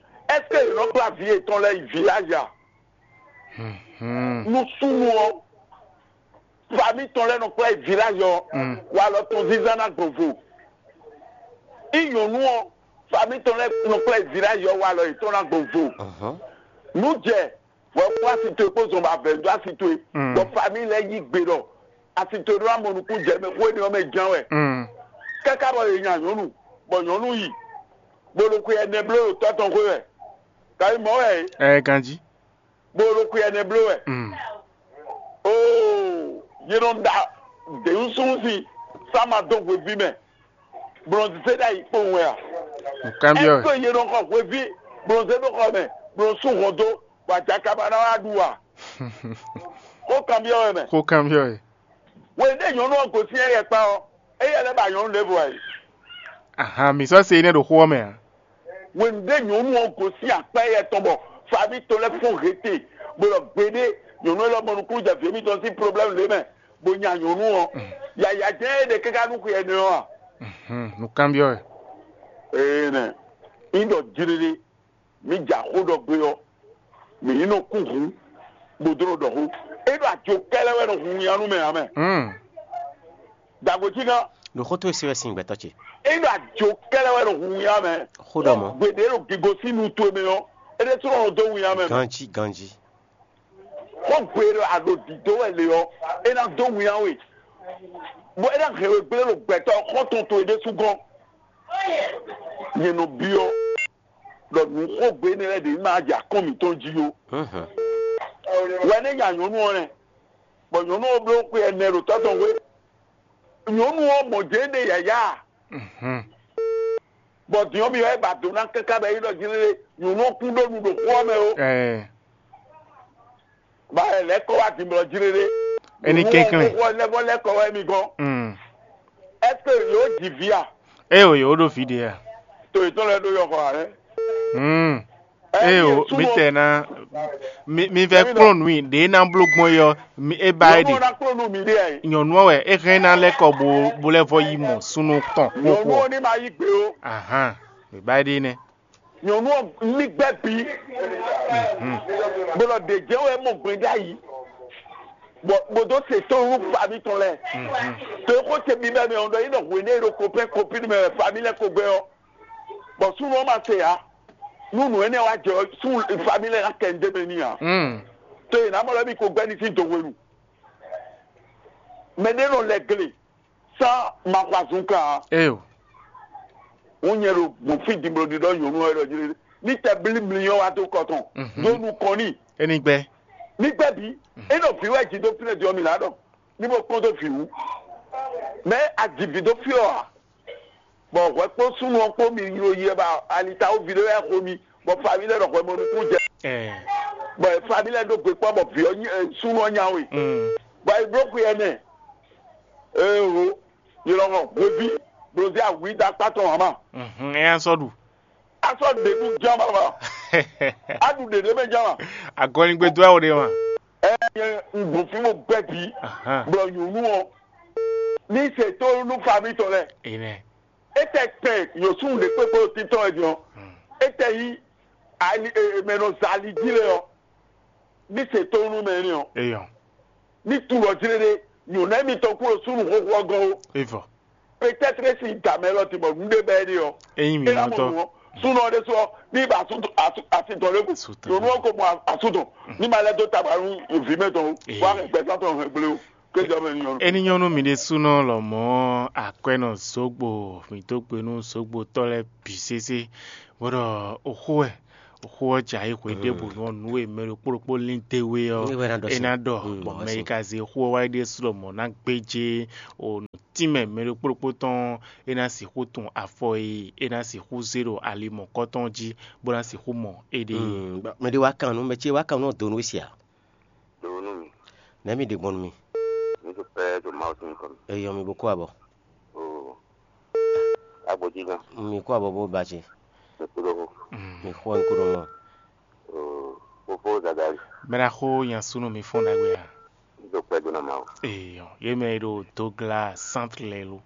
ɛ́seke yě nɔ kplá vǐ yětɔn lɛ́ɛ yi village a? Mhm. Nú súnnu ɔ́, fami tɔn lɛ́ɛ nɔ kplá yi village ɔ́, mm, walɔ tɔn zínzán ná gbɔn vo. Í nyɔ̌nu ɔ́, fami tɔn lɛ́ɛ nɔ kplá yi village ɔ́, walɔ yětɔn ná gbɔn vo. Nǔ jɛ, vɔ kpó asi towe kpó zɔn bɔ avɛ̌ dó asi towe, mm, bɔ fami lɛ́ɛ yí gbe ɖɔ asi towe ɖó ná mɔ nukún jɛ mɛ xó énɛ́ ɔ́ mɛ ján wɛ. Mm. Káká bɔ yě nya nyɔ̌nu, bɔ nyɔ̌nu yi, bó ɖo xwe ɛnɛ bló ɖo tɔ́ tɔn xwé wɛ. Kayi mɔ̌ wɛ é, ɛ ganjí. Bó ɖo xwe ɛnɛ bló wɛ. Mm. Oo, yě nɔ ɖa děwúsúnú sín sá ma dó hweví mɛ. Blɔnzise ɖ'ayǐ kpowun wɛ a? Nǔkanbyɔ́ wɛ. Ɛ́seke yě nɔ xɔ hweví blɔnzé ɖó xɔ mɛ, blɔn sú hɔn dó, bɔ ajaka ba ná wá ɖu a? Xó kanbyɔ́ wɛ mɛ. Xó kanbyɔ́ wɛ. Hwenu ɖé nyɔ̌nu ɔ́ gosín ɛyɛ kpá ɔ́, éyɛ́ lɛ́ ba nyɔ̌nu ɖěvo ǎ é. Ahan, mǐ sɔ́ se énɛ́ ɖo xó ɔ́ mɛ ǎ. Hwenu ɖé nyɔ̌nu ɔ́ gosín akpá éyɛ́ tɔn bɔ faví tɔn lɛ́ɛ fɔ́n hete, bó ɖɔ gbeɖé, nyɔ̌nu élɔ́ mɔ nukúnnú jɛ vǐ émítɔn sín problɛ́mu lě mɛ, bó nya nyɔ̌nu ɔ́, yǎyá jɛ́n é ɖe káká nú xwe ɛnɛ ɔ́ a? Mhm, nǔkanbyɔ́ wɛ. Ee nɛ, nyí ɖɔ jiɖiɖi, mǐ ja xó ɖɔ gbé ɔ́, mǐ ní nɔ kú hǔn, bó dó nɔ ɖɔ xó. É ɖo ajo kɛ́lɛ́ wɛ nɔ hun winnyá nú mɛ ǎ mɛ. Mm. Dǎgbó cí gán. Ɖo xó towe se wɛ sin gbɛtɔ́ ce. É ɖo ajo kɛ́lɛ́ wɛ nɔ hun winnyá mɛ. Xó ɖɔ mɔ̌. Gbeɖé ɖo gigo sín nu towe mɛ ɔ́, é ɖésú nɔ dó winnyá mɛ mɛ. Ganjí, ganjí. Xó gbe ɖo aɖo dǐdó wɛ le ɔ́, é ná dó winnyá we, bó é ná hɛn we gblé ɖo gbɛtɔ́ xɔ́ntɔn towe ɖésú gɔ́n. Nyɛ nɔ byɔ́ ɖɔ nǔ xógbe énɛ́ lɛ́ɛ ɖě ní ma jɛ akɔ́n mǐtɔn jí ó. Wɛ nɛ́ nya nyɔ̌nu ɔ́ nɛ́, bɔ nyɔ̌nu ɔ́ bló xwe ɛnɛ ɖo tɔ́ tɔn xwé. Nyɔ̌nu ɔ́ mɔ jɛ̌ ɖe yǎyá, bɔ din ɔ́ mi wá yi ba do ná káká bɔ é yi ɖɔ jí lé, nyɔ̌nu ɔ́ kún ɖó nu ɖo xó ɔ́ mɛ ó. Ɛɛ, Ba lɛ́ kɔ wá din blɔ jí lé. Eni kɛnklɛn. Xó ɔ́ lɛ́ vɔ lɛ́ kɔ wá mi gɔ́n. Mm. Est-ce que yǒ ji vǐ a? Eo, yǒ ɖo vǐ ɖe a? To yětɔn lɛ́ɛ ɖó yɔxɔ ǎ nɛ́. Mm. Eo, mi tɛ ná mi mi vɛ kplɔ́n nǔ i ɖě ná bló gbɔn é ɔ́, mi é ba é Nyɔ̌nu ɖe. Ɔ́ ná kplɔ́n nú mi ɖe ǎ é. Nyɔ̌nu ɔ́ wɛ é hɛn ná lɛ́ kɔ bó bó lɛ́ vɔ yi mɔ súnnu tɔn Nyɔ̌nu xóxó. Ɔ́ ní ma yí gbe ó. Ahan, mi ba é ɖe nɛ́. Nyɔ̌nu ɔ́ ní gbɛ́ bǐ. Bó nɔ ɖe jɛ́n wɛ mɔ gbɛn ɖ'ayǐ. Bɔ bó dó se tɔn nú fami tɔn lɛ́ɛ. To e xó ce bíbɛ́ mɛ ɔ́ ɖɔ yě nɔ hwě nú é ɖo kopɛ́n kopín mɛ wɛ fami lɛ́ɛ ko gbɛ́ ɔ́. Bɔ súnnu ɔ́ ma se ǎ. Nú nǔ énɛ́ wá jɛ ɔ́, sú fami lɛ́ɛ ná kɛ nǔ ɖé mɛ n'i ǎ. Mm. To e nǎ mɔ lɛ́ mi ko gbɛ́ ní sín do hwenu. Mɛ ɖé nɔ lɛ gle sán ma xɔ azɔn kan ǎ. Eo. Wọ́n nyɛ ɖo gbɔn fí dimlɔɖiɖɔ nyɔ̌nu ɔ́ ɖɔ jí ní tɛ blí mlí ɔ́ wá dó kɔ tɔn. Mhm. Dó nukɔn n'i. Eni gbɛ. Ní gbɛ́ bǐ. É nɔ vǐ wɛ jí dó fínɛ́ din ɔ́ mi ná ɖɔ ní bó kpɔ́n dó vǐ wú. Mɛ a ji vǐ dó fí ɔ́ ǎ. Bɔ hwɛ kpó súnnu ɔ́ kpó mi yló yi wɛ ba alita ó vi ɖé wɛ xo mi, bɔ faví lɛ́ɛ ɖɔ hwɛ mɔ nukún jɛ. Ɛɛ. Bɔ faví lɛ́ɛ ɖó gbe kpɔ́ bɔ vǐ ɔ́ nyi- ɛ, súnnu ɔ́ nya we. Mm. Bɔ e bló xwe ɛnɛ. Ee o, yi lɔ xɔ hweví blozí awǐ da kpá tɔn hama. Mhm, ɛ ya sɔ ɖu. A sɔ ɖe nú ján ma ma. A ɖu ɖeɖe mɛ ján ma. Agɔnigbe dó awo ɖe ma. Ɛ nyɛ un gbɔn fí mo gbɛ bǐ. Ahan. Blɔ nyɔ̌nu ɔ́ ní se tó nú faví tɔn lɛ. Enɛ. Etɛ tɛ yǒsúnnu ɖě kpékpé títɔn wɛ din ɔ́. Hmm. Etɛ yí ali e- e- mɛ nɔ za ali jí lɛ ɔ́, ní se tó nú mɛ ní ɔ́. Eyɔn. Ní tu lɔ jí lé ɖé, nyɔ̌nu émítɔn kú ɖo súnnu xóxó ɔ́ gɔ́n ó. Evɔ. Peut-être si da mɛ lɔ ti bɔ nǔ ɖé bɛ é ɖe ɔ́. Eyin mi É ná mɔ nutɔ. Nǔ ɔ́. Súnnu ɔ́ ɖésú ɔ́, ní ba asú- asú- asitɔn lé kú. Asutɔn. Nyɔ̌nu ɔ́ ko mɔ asútɔn. Ní ma lɛ́ dó taba nú vǐ mɛ tɔn ó. Ee. Wá gbɛzán tɔn hɛn gblé ó. Kéjɔ mɛ ní nyɔ́nu. Eni nyɔ́nu mi ɖésúnɔ lɔmɔ̌ akwɛ́nɔ zǒgbo, mǐ dó gbe nú zǒgbotɔ́ lɛ́ɛ bǐ sésé, bó ɖɔ oxó wɛ Xó ɔ́ jɛ ayǐ hwe ɖěbǔ nú ɔ́, nǔ e mɛ ɖokpó ɖokpó lín d'é wé ɔ́, é ná ɖɔ. Gbɔn mɛ e ka zé xó ɔ́ wá ɖésú lɔmɔ̌ ná gbéjé o nǔtínmɛ mɛ ɖokpó ɖokpó tɔn, é ná sixú tun afɔ e é ná sixú zé ɖo ali mɔ̌kɔtɔn jí, bó ná sixú mɔ éɖée. Mɛ ɖé wá kan nú mɛ ce wá kan nú ɔ́ dó nú we sia. Do nú mi. Nɛ̌ mi ɖe gbɔn nú mi? Mi to pɛ́ ɖo Mawu sín nukɔn mɛ. Eyɔ mi bo kó abɔ. Oo. Agbo jí gán. Mi kó abɔ bó ba ce. Mi kú ɖo xo. Mi xɔ mi kú ɖo mɔ. Oo. Fofo Zagari. Mɛ ɖaxó nya súnú mi fɔ́n ɖagbe a? Mi to pɛ́ dó ná Mawu. Eyɔ, yě mɛ e ɖo Dogla centre lɛ́ɛ lo.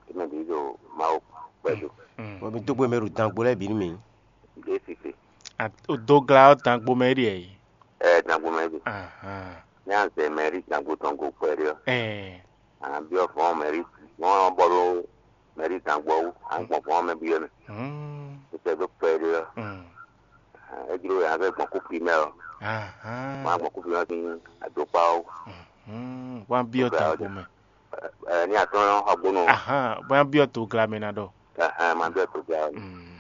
Yě mɛ bǐ ɖo Mawu pɛ́ dó. Bɔ mi dó gbe mɛ ɖo dangbo lɛ́ɛ bǐ nú mi. Ɖě sise. Dogla ɔ́ dangbo mɛ é ɖe ɛ? Ɛ dangbo mɛ ɖe. Ahán. Ní azɛ mɛrí dangbo tɔn go kpɛɖé ɔ́, Ɛ. Àná byɔ́ vɔ̌n mɛrí vɔ̌n ɔ́ bɔ ɖó mɛrí dangbo ɔ́ wú, à ń gbɔn vɔ̌n ɔ́ mɛ byɔ́ mɛ. Mm. Títɛ ɖó kpɛɖé ɔ́, Mm. É jló wɛ a fẹ́ gbɔn kú primɛ́ ɔ́, Ahán. Wọ́n á gbɔn kú primɛ́ sín àdókpá ɔ́ wú. Mm. Wọ́n á byɔ́ Dogla ɔ́ dangbo mɛ. Ɛ ní atɔ́ xɔ gbónú. Ahán. Wọ́n á byɔ́ Dogla mɛ ná ɖɔ. Ahán, ma byɔ́ Dogla ɔ́. Mm.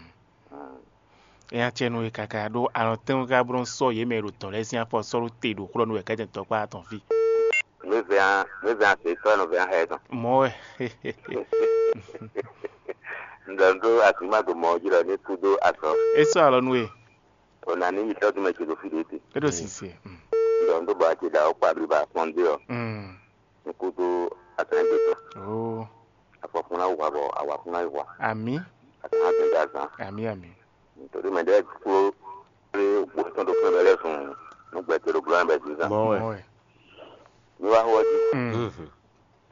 Nya ce nú we káká ɖó alɔntɛ́nwú ká bó nɔ́ sɔ́ yě mɛ e ɖo dɔ̌n lɛ́ɛ sín afɔ sɔ́ ɖó te ɖo xlɔ́ nú wɛ kɛ́tɛn tɔkpá tɔn fí. Nǔ e vɛ́ ǎ, nǔ e vɛ́ ǎ se sɔ́ nɔ vɛ́ ǎ xá ɛ tɔn. Mɔ̌ wɛ. Un ɖɔ nǔ ɖó asǐmá ɖo mɔ̌ jí ɖɔ ní kú dó azɔn. É sɔ́ alɔ nú we. O nǎ ní yi tɔ́jú mɛ ce ɖo fí ɖé te. É ɖo sise. Un ɖɔ nǔ ɖó bɔ a ce ɖo awɔ̌ kpa bliba kpɔ́n dé ɔ́. Mm. Ní kú dó azɔn égbé tɔn. Oo. Afɔkun ná wa bɔ awǎkun ná yi wa. Amǐ. Azɔn ná dɛn dó azɔn. Amǐ amǐ. Nítorí mɛ ɖɛɛ kpló kplé gbǒ tɔn ɖo fún ɛbɛ lɛ́ɛ sun nú gbɛ te ɖo glɔ́ ɛbɛ zǐnzán. Mɔ̌ wɛ. Mɔ̌ wɛ. Mi wá xó ɔ́ jí. Mm.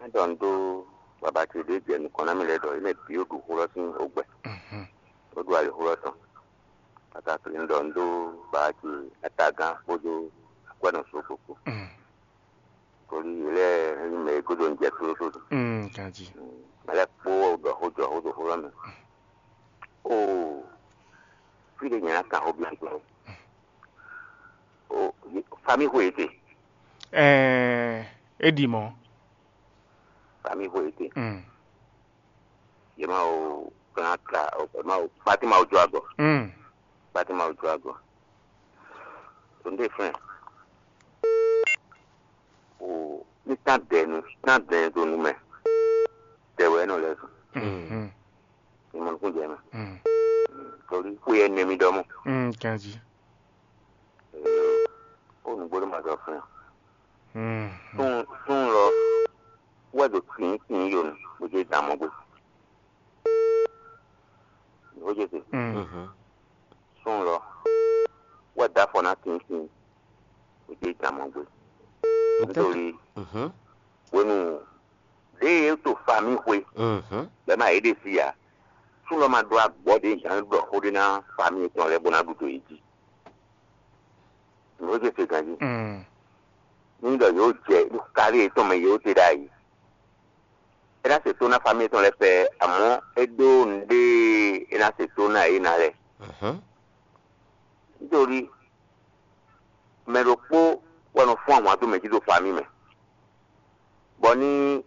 Má ɖɔ un ɖó baba ce ɖě jɛ nukɔn ná mì lɛ́ɛ ɖɔ yě mɛ bǐ ó ɖu xó lɔ sín ogbɛ, Mhm. Bó ɖu alixó lɔ tɔn. Káká un ɖɔ un ɖó baba ce atagán kpódó akwɛ́nɔ só kpokpo. Mm. Kódó yě lɛ́ɛ nyí mɛ e gúdo un jɛ tlóló. Mm, ganjí. Mɛ lɛ́ɛ kpó wɛ ɖɔ xó jɔ xó ɖo xó lɔ mɛ. Oo, fí ɖé nyɛ ná kan xó byɔ́ gbɔn. O, famí xwe yě te. Ɛɛ, é ɖi mɔ̌. Famí xwe yě te. Mm. Yě má o plan ka, o má o pati má o jó agɔ. Mm. Pati má o jó agɔ. Tó ndé fɛn. O ní tán dɛ nu, tán dɛ do nu mɛ. Tɛ wɛ nɔ lɛ zɔn. Mhm. Ní mɔ nukún jɛ mɛ. Mm. Torí xwe yɛ nɛ mi dɔ mɔ. Mm, ganjí. Ó nǔgbó ló ma zɔ fún ẹ. Mm. Sún sún lɔ wɛ do tìín tìín yonu bó jẹ́ dààmú gbé. Ó jẹ́ sè. Mm. Mhm. Sún lɔ wɛ da fɔ ná tìín tìín bó jẹ́ dààmú gbé. Nítorí Mhm. Wenu ɖě e to famí xwe Mhm. bɛ́ ma yě ɖe sí ǎ. Sú lɔ ma ɖó agbɔ̌ ɖě gǎn ɖɔ xó ɖé ná famí tɔn lɛ́ɛ bó ná ɖu dǒ yě jí. Nǔ e se ganjí. Mm. Ní ɖɔ yǒ jɛ ní kárí yětɔn mɛ yǒ te ɖ'ayǐ. É ná se tó ná famí tɔn lɛ́ɛ pɛ, amɔ̌ é ɖó nǔɖé e é ná se tó ná yě ná lɛ́ɛ. Mhm. Nítorí mɛ ɖokpó wɛ nɔ fún ahwan dó mɛ jí ɖo famí mɛ, bɔ ní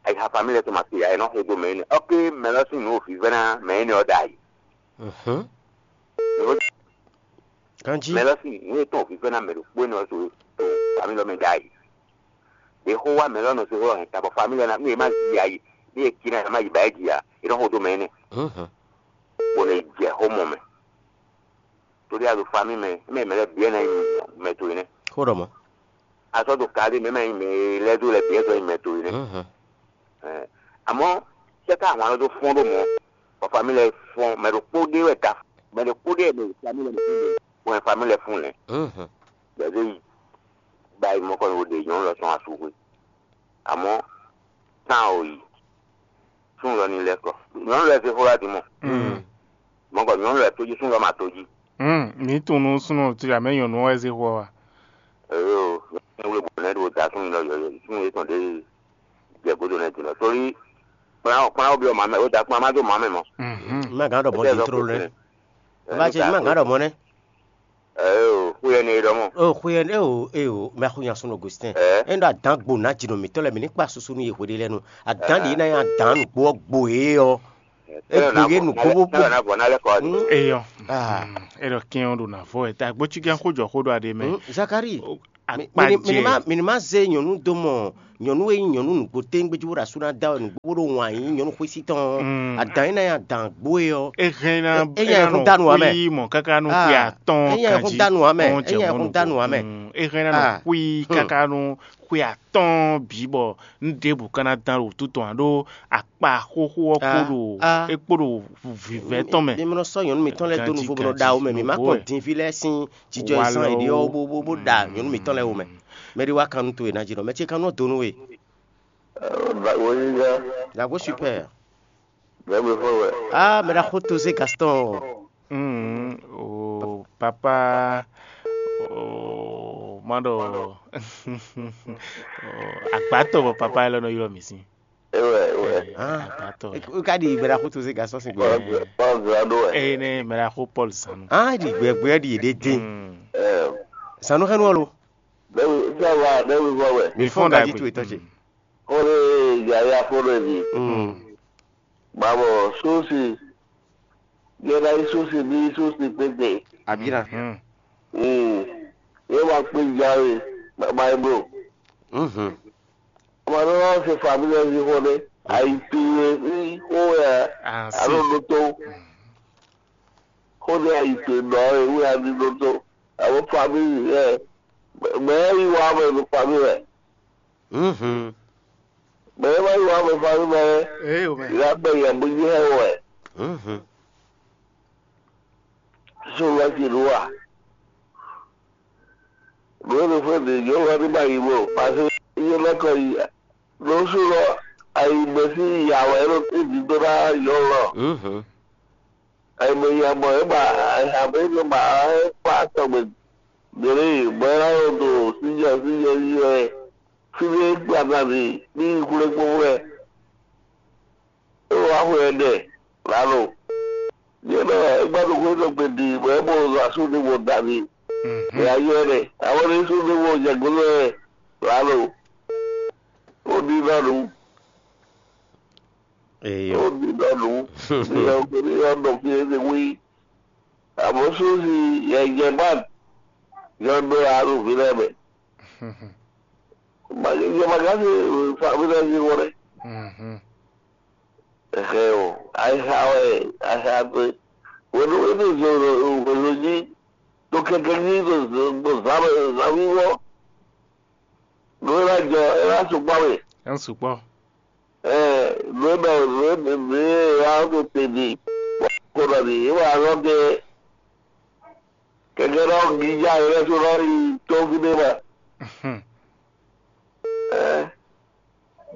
ayixa famí lɛ́ɛ tɔn ma se ǎ, è nɔ xo dó mɛ énɛ́. Ɔ́ ké mɛ lɔ sín nǔ wǒ vívɛ́ná mɛ énɛ́ ɔ́ ɖ'ayǐ. Mhm. Ganjí. Mɛ lɔ sín nǔ e tɔn wǒ vívɛ́ná mɛ ɖokpó énɛ́ ɔ́ to to famí lɔ mɛ ɖ'ayǐ. Ɖě xó wá mɛ lɔ nɔ se xó hɛn ta bɔ famí lɔ ná nú è má yi ayǐ, nú è cí ná è má yi ba é jí ǎ, è nɔ xo dó mɛ énɛ́. Mhm. Bó nɔ yi jɛ xó mɔ mɛ. Torí a ɖo famí mɛ, mɛ mɛ lɛ́ɛ bǐ wɛ ná nyí mɛ towe nɛ́. Xó ɖɔ mɔ̌. A sɔ́ ɖo kaɖé mɛ mɛ nyí mɛ e lɛ́ dó lɛ́ bǐ wɛ sɔ́ nyí mɛ towe nɛ́. Mhm. Ɛ, amɔ̌ sɛ́ ká ahwan lɔ dó fɔ́n ɖó mɔ̌, bɔ famí lɛ́ɛ fɔ́n, mɛ ɖokpó ɖé wɛ ka, mɛ ɖokpó ɖé wɛ mɛ famí lɛ́ɛ mɛ fún lɛ́, bɔ famí lɛ́ɛ fún lɛ́. Mhm. Bɛ̌ dó yi ba yi mɔ̌kɔ wo ɖe nyɔ̌nu lɔ tɔn asúxwé. Amɔ̌ tán o yi. Sún lɔ ní lɛ́ kɔ. Nyɔ̌nu lɛ́ɛ zé xó wá din mɔ. Mm. Mɔ̌kɔ nyɔ̌nu lɛ́ɛ tó jí, sún lɔ ma tó jí. Mm, mǐ tunwun nú súnnu ce amɛ nyɔ̌nu ɔ́ wɛ zé xó ɔ́ a? Eyo, nyɔ̌nu wle bɔ nɛ́ ɖo da sún mi lɔ yɔ̌yɔ́, sún yětɔn ɖé jɛ gǒdo nɛ́ din lɔ. Sórí kplán kplán ó byɔ́ mǎ mɛ, ó da kplán má dó mǎ mɛ mɔ. Mhm. Má gǎn ɖɔ mɔ̌ din tlóló nɛ́. Bá ce má gǎn ɖɔ mɔ̌ nɛ́. Eo, xú yɛ ní é ɖɔ mɔ. O xwe ɛ o e o mɛ xú nya súnɔ Augustin. Ɛ? E ɖo adán gbo ná dzi nɔ mǐtɔn lɛ mǐ ní kpa susu nú yě hweɖé lɛ nu. Adán ɖě ná nyi adán nǔgbó ɔ́ gbo é ɔ. E gbo yé nǔgbó bó bó. Tɛlɛ na vɔ na lɛ kɔ adi. Eyɔ. Ah. É ɖɔ kɛn ɔ́ ɖo nǎ vɔ wɛ, ta gbócígán xó jɔ xó ɖo aɖe mɛ. Hmm, Zakari, mi- mi- mi- mi- ma- mi- mi- ma zé nyɔ̌nu dó mɔ nyɔ̌nu e nyí nyɔ̌nu nǔgbó téŋgbé jí bó ɖo asú ná da wɛ nǔgbó bó ɖo wǎn yí nyɔ̌nu xwésí tɔn ɔ́, Mm. Adǎn é ná nyí adǎn gbó e ɔ́. É hɛn ná É- é é nya ná ɛhún nɔ dánú ǎ mɛ. Xwí mɔ káká nú Ah, xwí atɔ́ é nya ɛhún kanjí dánú ǎ mɛ. Ɔn É jɛ nya mɔnu. Ɛhún dánú ǎ mɛ. Mm, é hɛn ná nɔ Ah. Xwí Hmm. Káká nú xwí atɔ́ bǐ bɔ un ɖěbǔ ka ná dán ɖo wútu tɔn ǎ ɖó akpa xóxó ɔ́ kpó Ah, ɖo ah. É kpó ɖo vǐvɛ́ tɔn mɛ. Mi nɔ sɔ́ nyɔ̌nu mitɔn lɛ́ɛ dó Ganjí, nuvo bó nɔ ɖo awu mɛ. Mi má nǔgbó kpɔn wɛ. Din fí lɛ́ɛ sín jijɔ e zán è ɖe ɔ́ bó bó bó ɖa nyɔ̌nu mitɔn lɛ́ɛ wo mɛ. Mɛ ɖé wá kan nú towe ná jí nɔ. Mɛ ce kan nú ɔ́ dó nú we. Dǎgbó super. Bɛ́ mi fɔ wɛ. Ah, mɛ ɖaxó Tozé Gaston. Mm, o papa, o ma ɖɔ o agbátɔ bɔ papa élɔ́ nɔ ylɔ́ mì sín. Ewɛ, ewɛ. Ah, Agbátɔ. E ka ɖi mɛ ɖaxó Tozé Gaston sín gbé. Paul Zan ɖó wɛ. Eye ne mɛ ɖaxó Paul Zanu. Ah, ɖi gbɛgbɛ ɖi ɖe dín. Mm. Zanu xɛnu ɔ́ lo. Bɛ́ mi sá wa, bɛ́ mi fɔ wɛ. Mi fɔ́n Fɔ́n gají ɖagbe. Towe tɔn ce. Xó ɖé yaya xó ɖé ɖi. Mm. Babo susi. Yɛla yi susi bí susi tete. Abira. Mm. Mm. Ye ma kpe jawe. Baba yi bro. Mhm. Ọmọ náà wọ́n ṣe fàmílì ẹni xó ɖé. Àìpé ní xó ẹ̀ Ah, àlọ́ sí. Ló tó. Xó ní àìpé nọ ewé àdí ló tó. Àwọn fàmílì ẹ̀. Mẹ́rin wà á mọ̀ ní fàmílì ẹ̀. Mhm. Mɛ e ma yí wǎ mɛ fa nú mɛ é, Ee o mɛ. Ila bɛ yɛ bó yi hɛ wɛ. Mhm. So wá ti nú wa. Nú e fún mi yɔ wá ní ma yi mɔ, pàṣẹ yé lɛkọ yi. Ló sú lɔ ayi mɛ sí yà wɛ ló ti di dó ná yɔ lɔ. Mhm. Ayi mɛ yà mɔ é ma ayi mɛ yà mɔ é ma kpa tɔgbɛ. Dere bɔ é ná nɔ ɖo sínjɔ sínjɔ yi wɛ fí ɖé gbadadi ní xwlé kpókpó wɛ. É wá xwe ɛnɛ lǎlo. Yě nɔ é gbá ɖo xwé tɔn gbe ɖi bɔ é mɔ asú ní mo da mi. Nya yɔ ɛnɛ. Àwọn ní sú ní mo jɛ golo ɛ lǎlo. Ó ní nɔ nǔ. Eyɔ. Ó ní nɔ nǔ. Ní yɔ ní yɔ nɔ fi é wí. Àmọ́ sósì yɛ jɛ bá yɔ nɔ alu fi lɛ mɛ. Yɛ ma gán sí fa fi lɛ sí wọlé. Mhm. Ẹ̀hẹ́ o, àìsàn wẹ̀ àìsàn àti wẹ̀lú wẹ̀lú ìṣòro ìṣòro jí tó kẹ̀kẹ́ jí tó tó tó sábẹ̀ sábíwọ́. Ló ń rájọ ẹ wá sùpá mi. Ẹ ń sùpọ̀. Ẹ ló ń bẹ ló ń bẹ ló ń wá tó tèmi. Kó lọ nìyí wà lọ́dẹ. Kɛkɛ ɖɔ gija yɛ lɛ so lɔ yi tɔ́ fi ɖé ma. Ɛ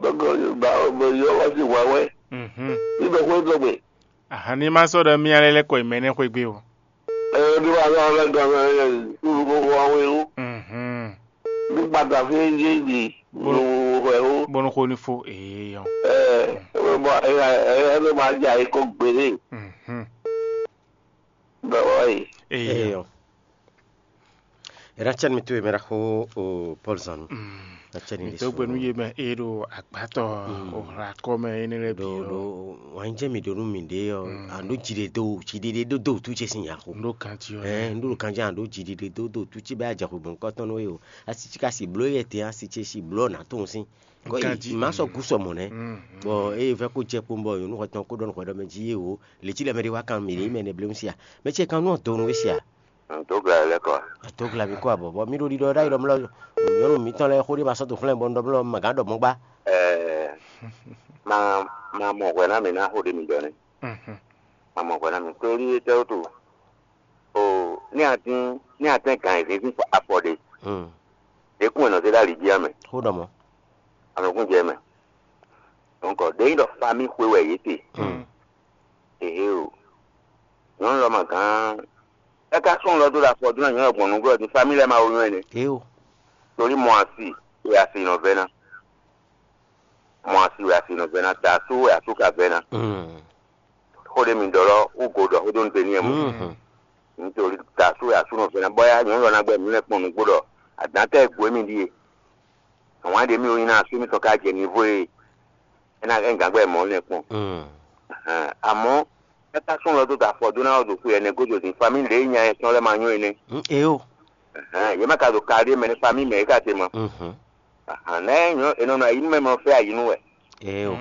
dɔkɔ ba bɛ yɔ wá sí wá wɛ. Ní bɛ xwé tɔgbe. Ahan ní ma sɔ́ ɖɔ mía lɛ́ lɛ́ kɔ yi mɛ nɛ́ xwé gbé o. Ɛ ní wà lɔ lɛ gɔmɛ ɛ kúrú kókó wá wé wú. Ní gbàdá fi yé yé yé wú wú wú wú. Bónú xó ní fó èèyàn. Ɛ ɛ bɔ ɛ ɛ ɛ ló máa jà yín kó gbélé. Bɛ wá yìí. Èèyàn. Eyɔ. Era cɛn mi to emera xo o Paul Zanu. Na cɛn mi to gbenu ye mɛ e ɖo agbátɔ o hla kɔ mɛ ene lɛ bi ɖo. Wanyijɛ mi ɖo nu mi ɖe yɔ, an ɖo dzi ɖe do, dzi ɖe ɖe do do tu ce sin yaxo. N ɖo kanti yɔ. Ɛ n ɖo kanti an ɖo dzi ɖe ɖe do do tu ce bɛ adza xo gbɔn kɔtɔn no ye o. Asi ci ka si blo ye te, asi ce si blo na to sin. Kɔ yi ma sɔ gu sɔ mɔ nɛ. Bɔ eye vɛ ko jɛ kpɔn bɔ yonu xɔ tɔn ko ɖɔ nu xɔ ɖɔ mɛ dzi ye o. Leti lɛ mɛ ɖe wa kan mi ɖe mɛ ne blem sia. Mɛ ce kan nu donu we sia. Ntogla lɛ kɔ. Ntogla bi kɔ abɔ bɔ mi ɖo ɖiɖɔ ɖa yi ɖɔ mlɔ nyɔnu mitɔn lɛ xo ɖe ma sɔ to xlɛn bɔ n ɖɔ mlɔ ma gán ɖɔ mɔ gba. Ɛɛ, ma ma mɔ hwɛ na mi na xo ɖe mi ɖɔ nɛ. Ma mɔ hwɛ na mi torí etɛwo to. O ní a dín ní a tɛn gǎn yězínzín afɔ ɖe. Ɖě kún è nɔ zé ɖó ali jí ǎ mɛ. Xó ɖɔ mɔ̌. Amɛkún jɛ mɛ. Donc ɖě nyí ɖɔ famí xwe wɛ yě te. Ehe o. Nyɔ̌nu lɔ ma gán. É ká sɔ́ lɔ dó ɖo afɔ dó ná nyɔ̌nu gbɔn nǔgbó ɔ́ din famí lɛ́ɛ ma wo nyɔ́ ɛnɛ. Torí mɔ asi wɛ asi nɔ vɛ́ ná. Mɔ asi wɛ asi nɔ vɛ́ ná, ta asú wɛ asú ka vɛ́ ná. Xó ɖé mi ɖɔ lɔ wú go ɖɔ xó dó nu te n'i ɛ mɔ. Nítorí ta asú wɛ asú nɔ vɛ́ ná bɔ ya nyɔ̌nu lɔ ná gbɛ nǔ lɛ́ɛ kpɔn nǔgbó ɖɔ adǎn tɛ́ e gbǒ émí ɖíe. Àwọn àdé mi ò nyi ná asú mi tɔn ká jɛ nivo e é ná é gǎn gbɛ mɔ̌ lɛ́ɛ kpɔn. Àmọ́ Káká sún lɔ dó da afɔ dó ná wɔ ɖo xwe ɛnɛ godo din, famille ɖě nya yɛn tɔn lɛ́ ma nyɔ́ énɛ́. Eo. Yě ma ka ɖo kali mɛ ní famille mɛ é ka te ma. Mhm. Nɛ nyɔ enɔ nɔ ayi nú mɛ mɛ fɛ ayi nú wɛ. Eo.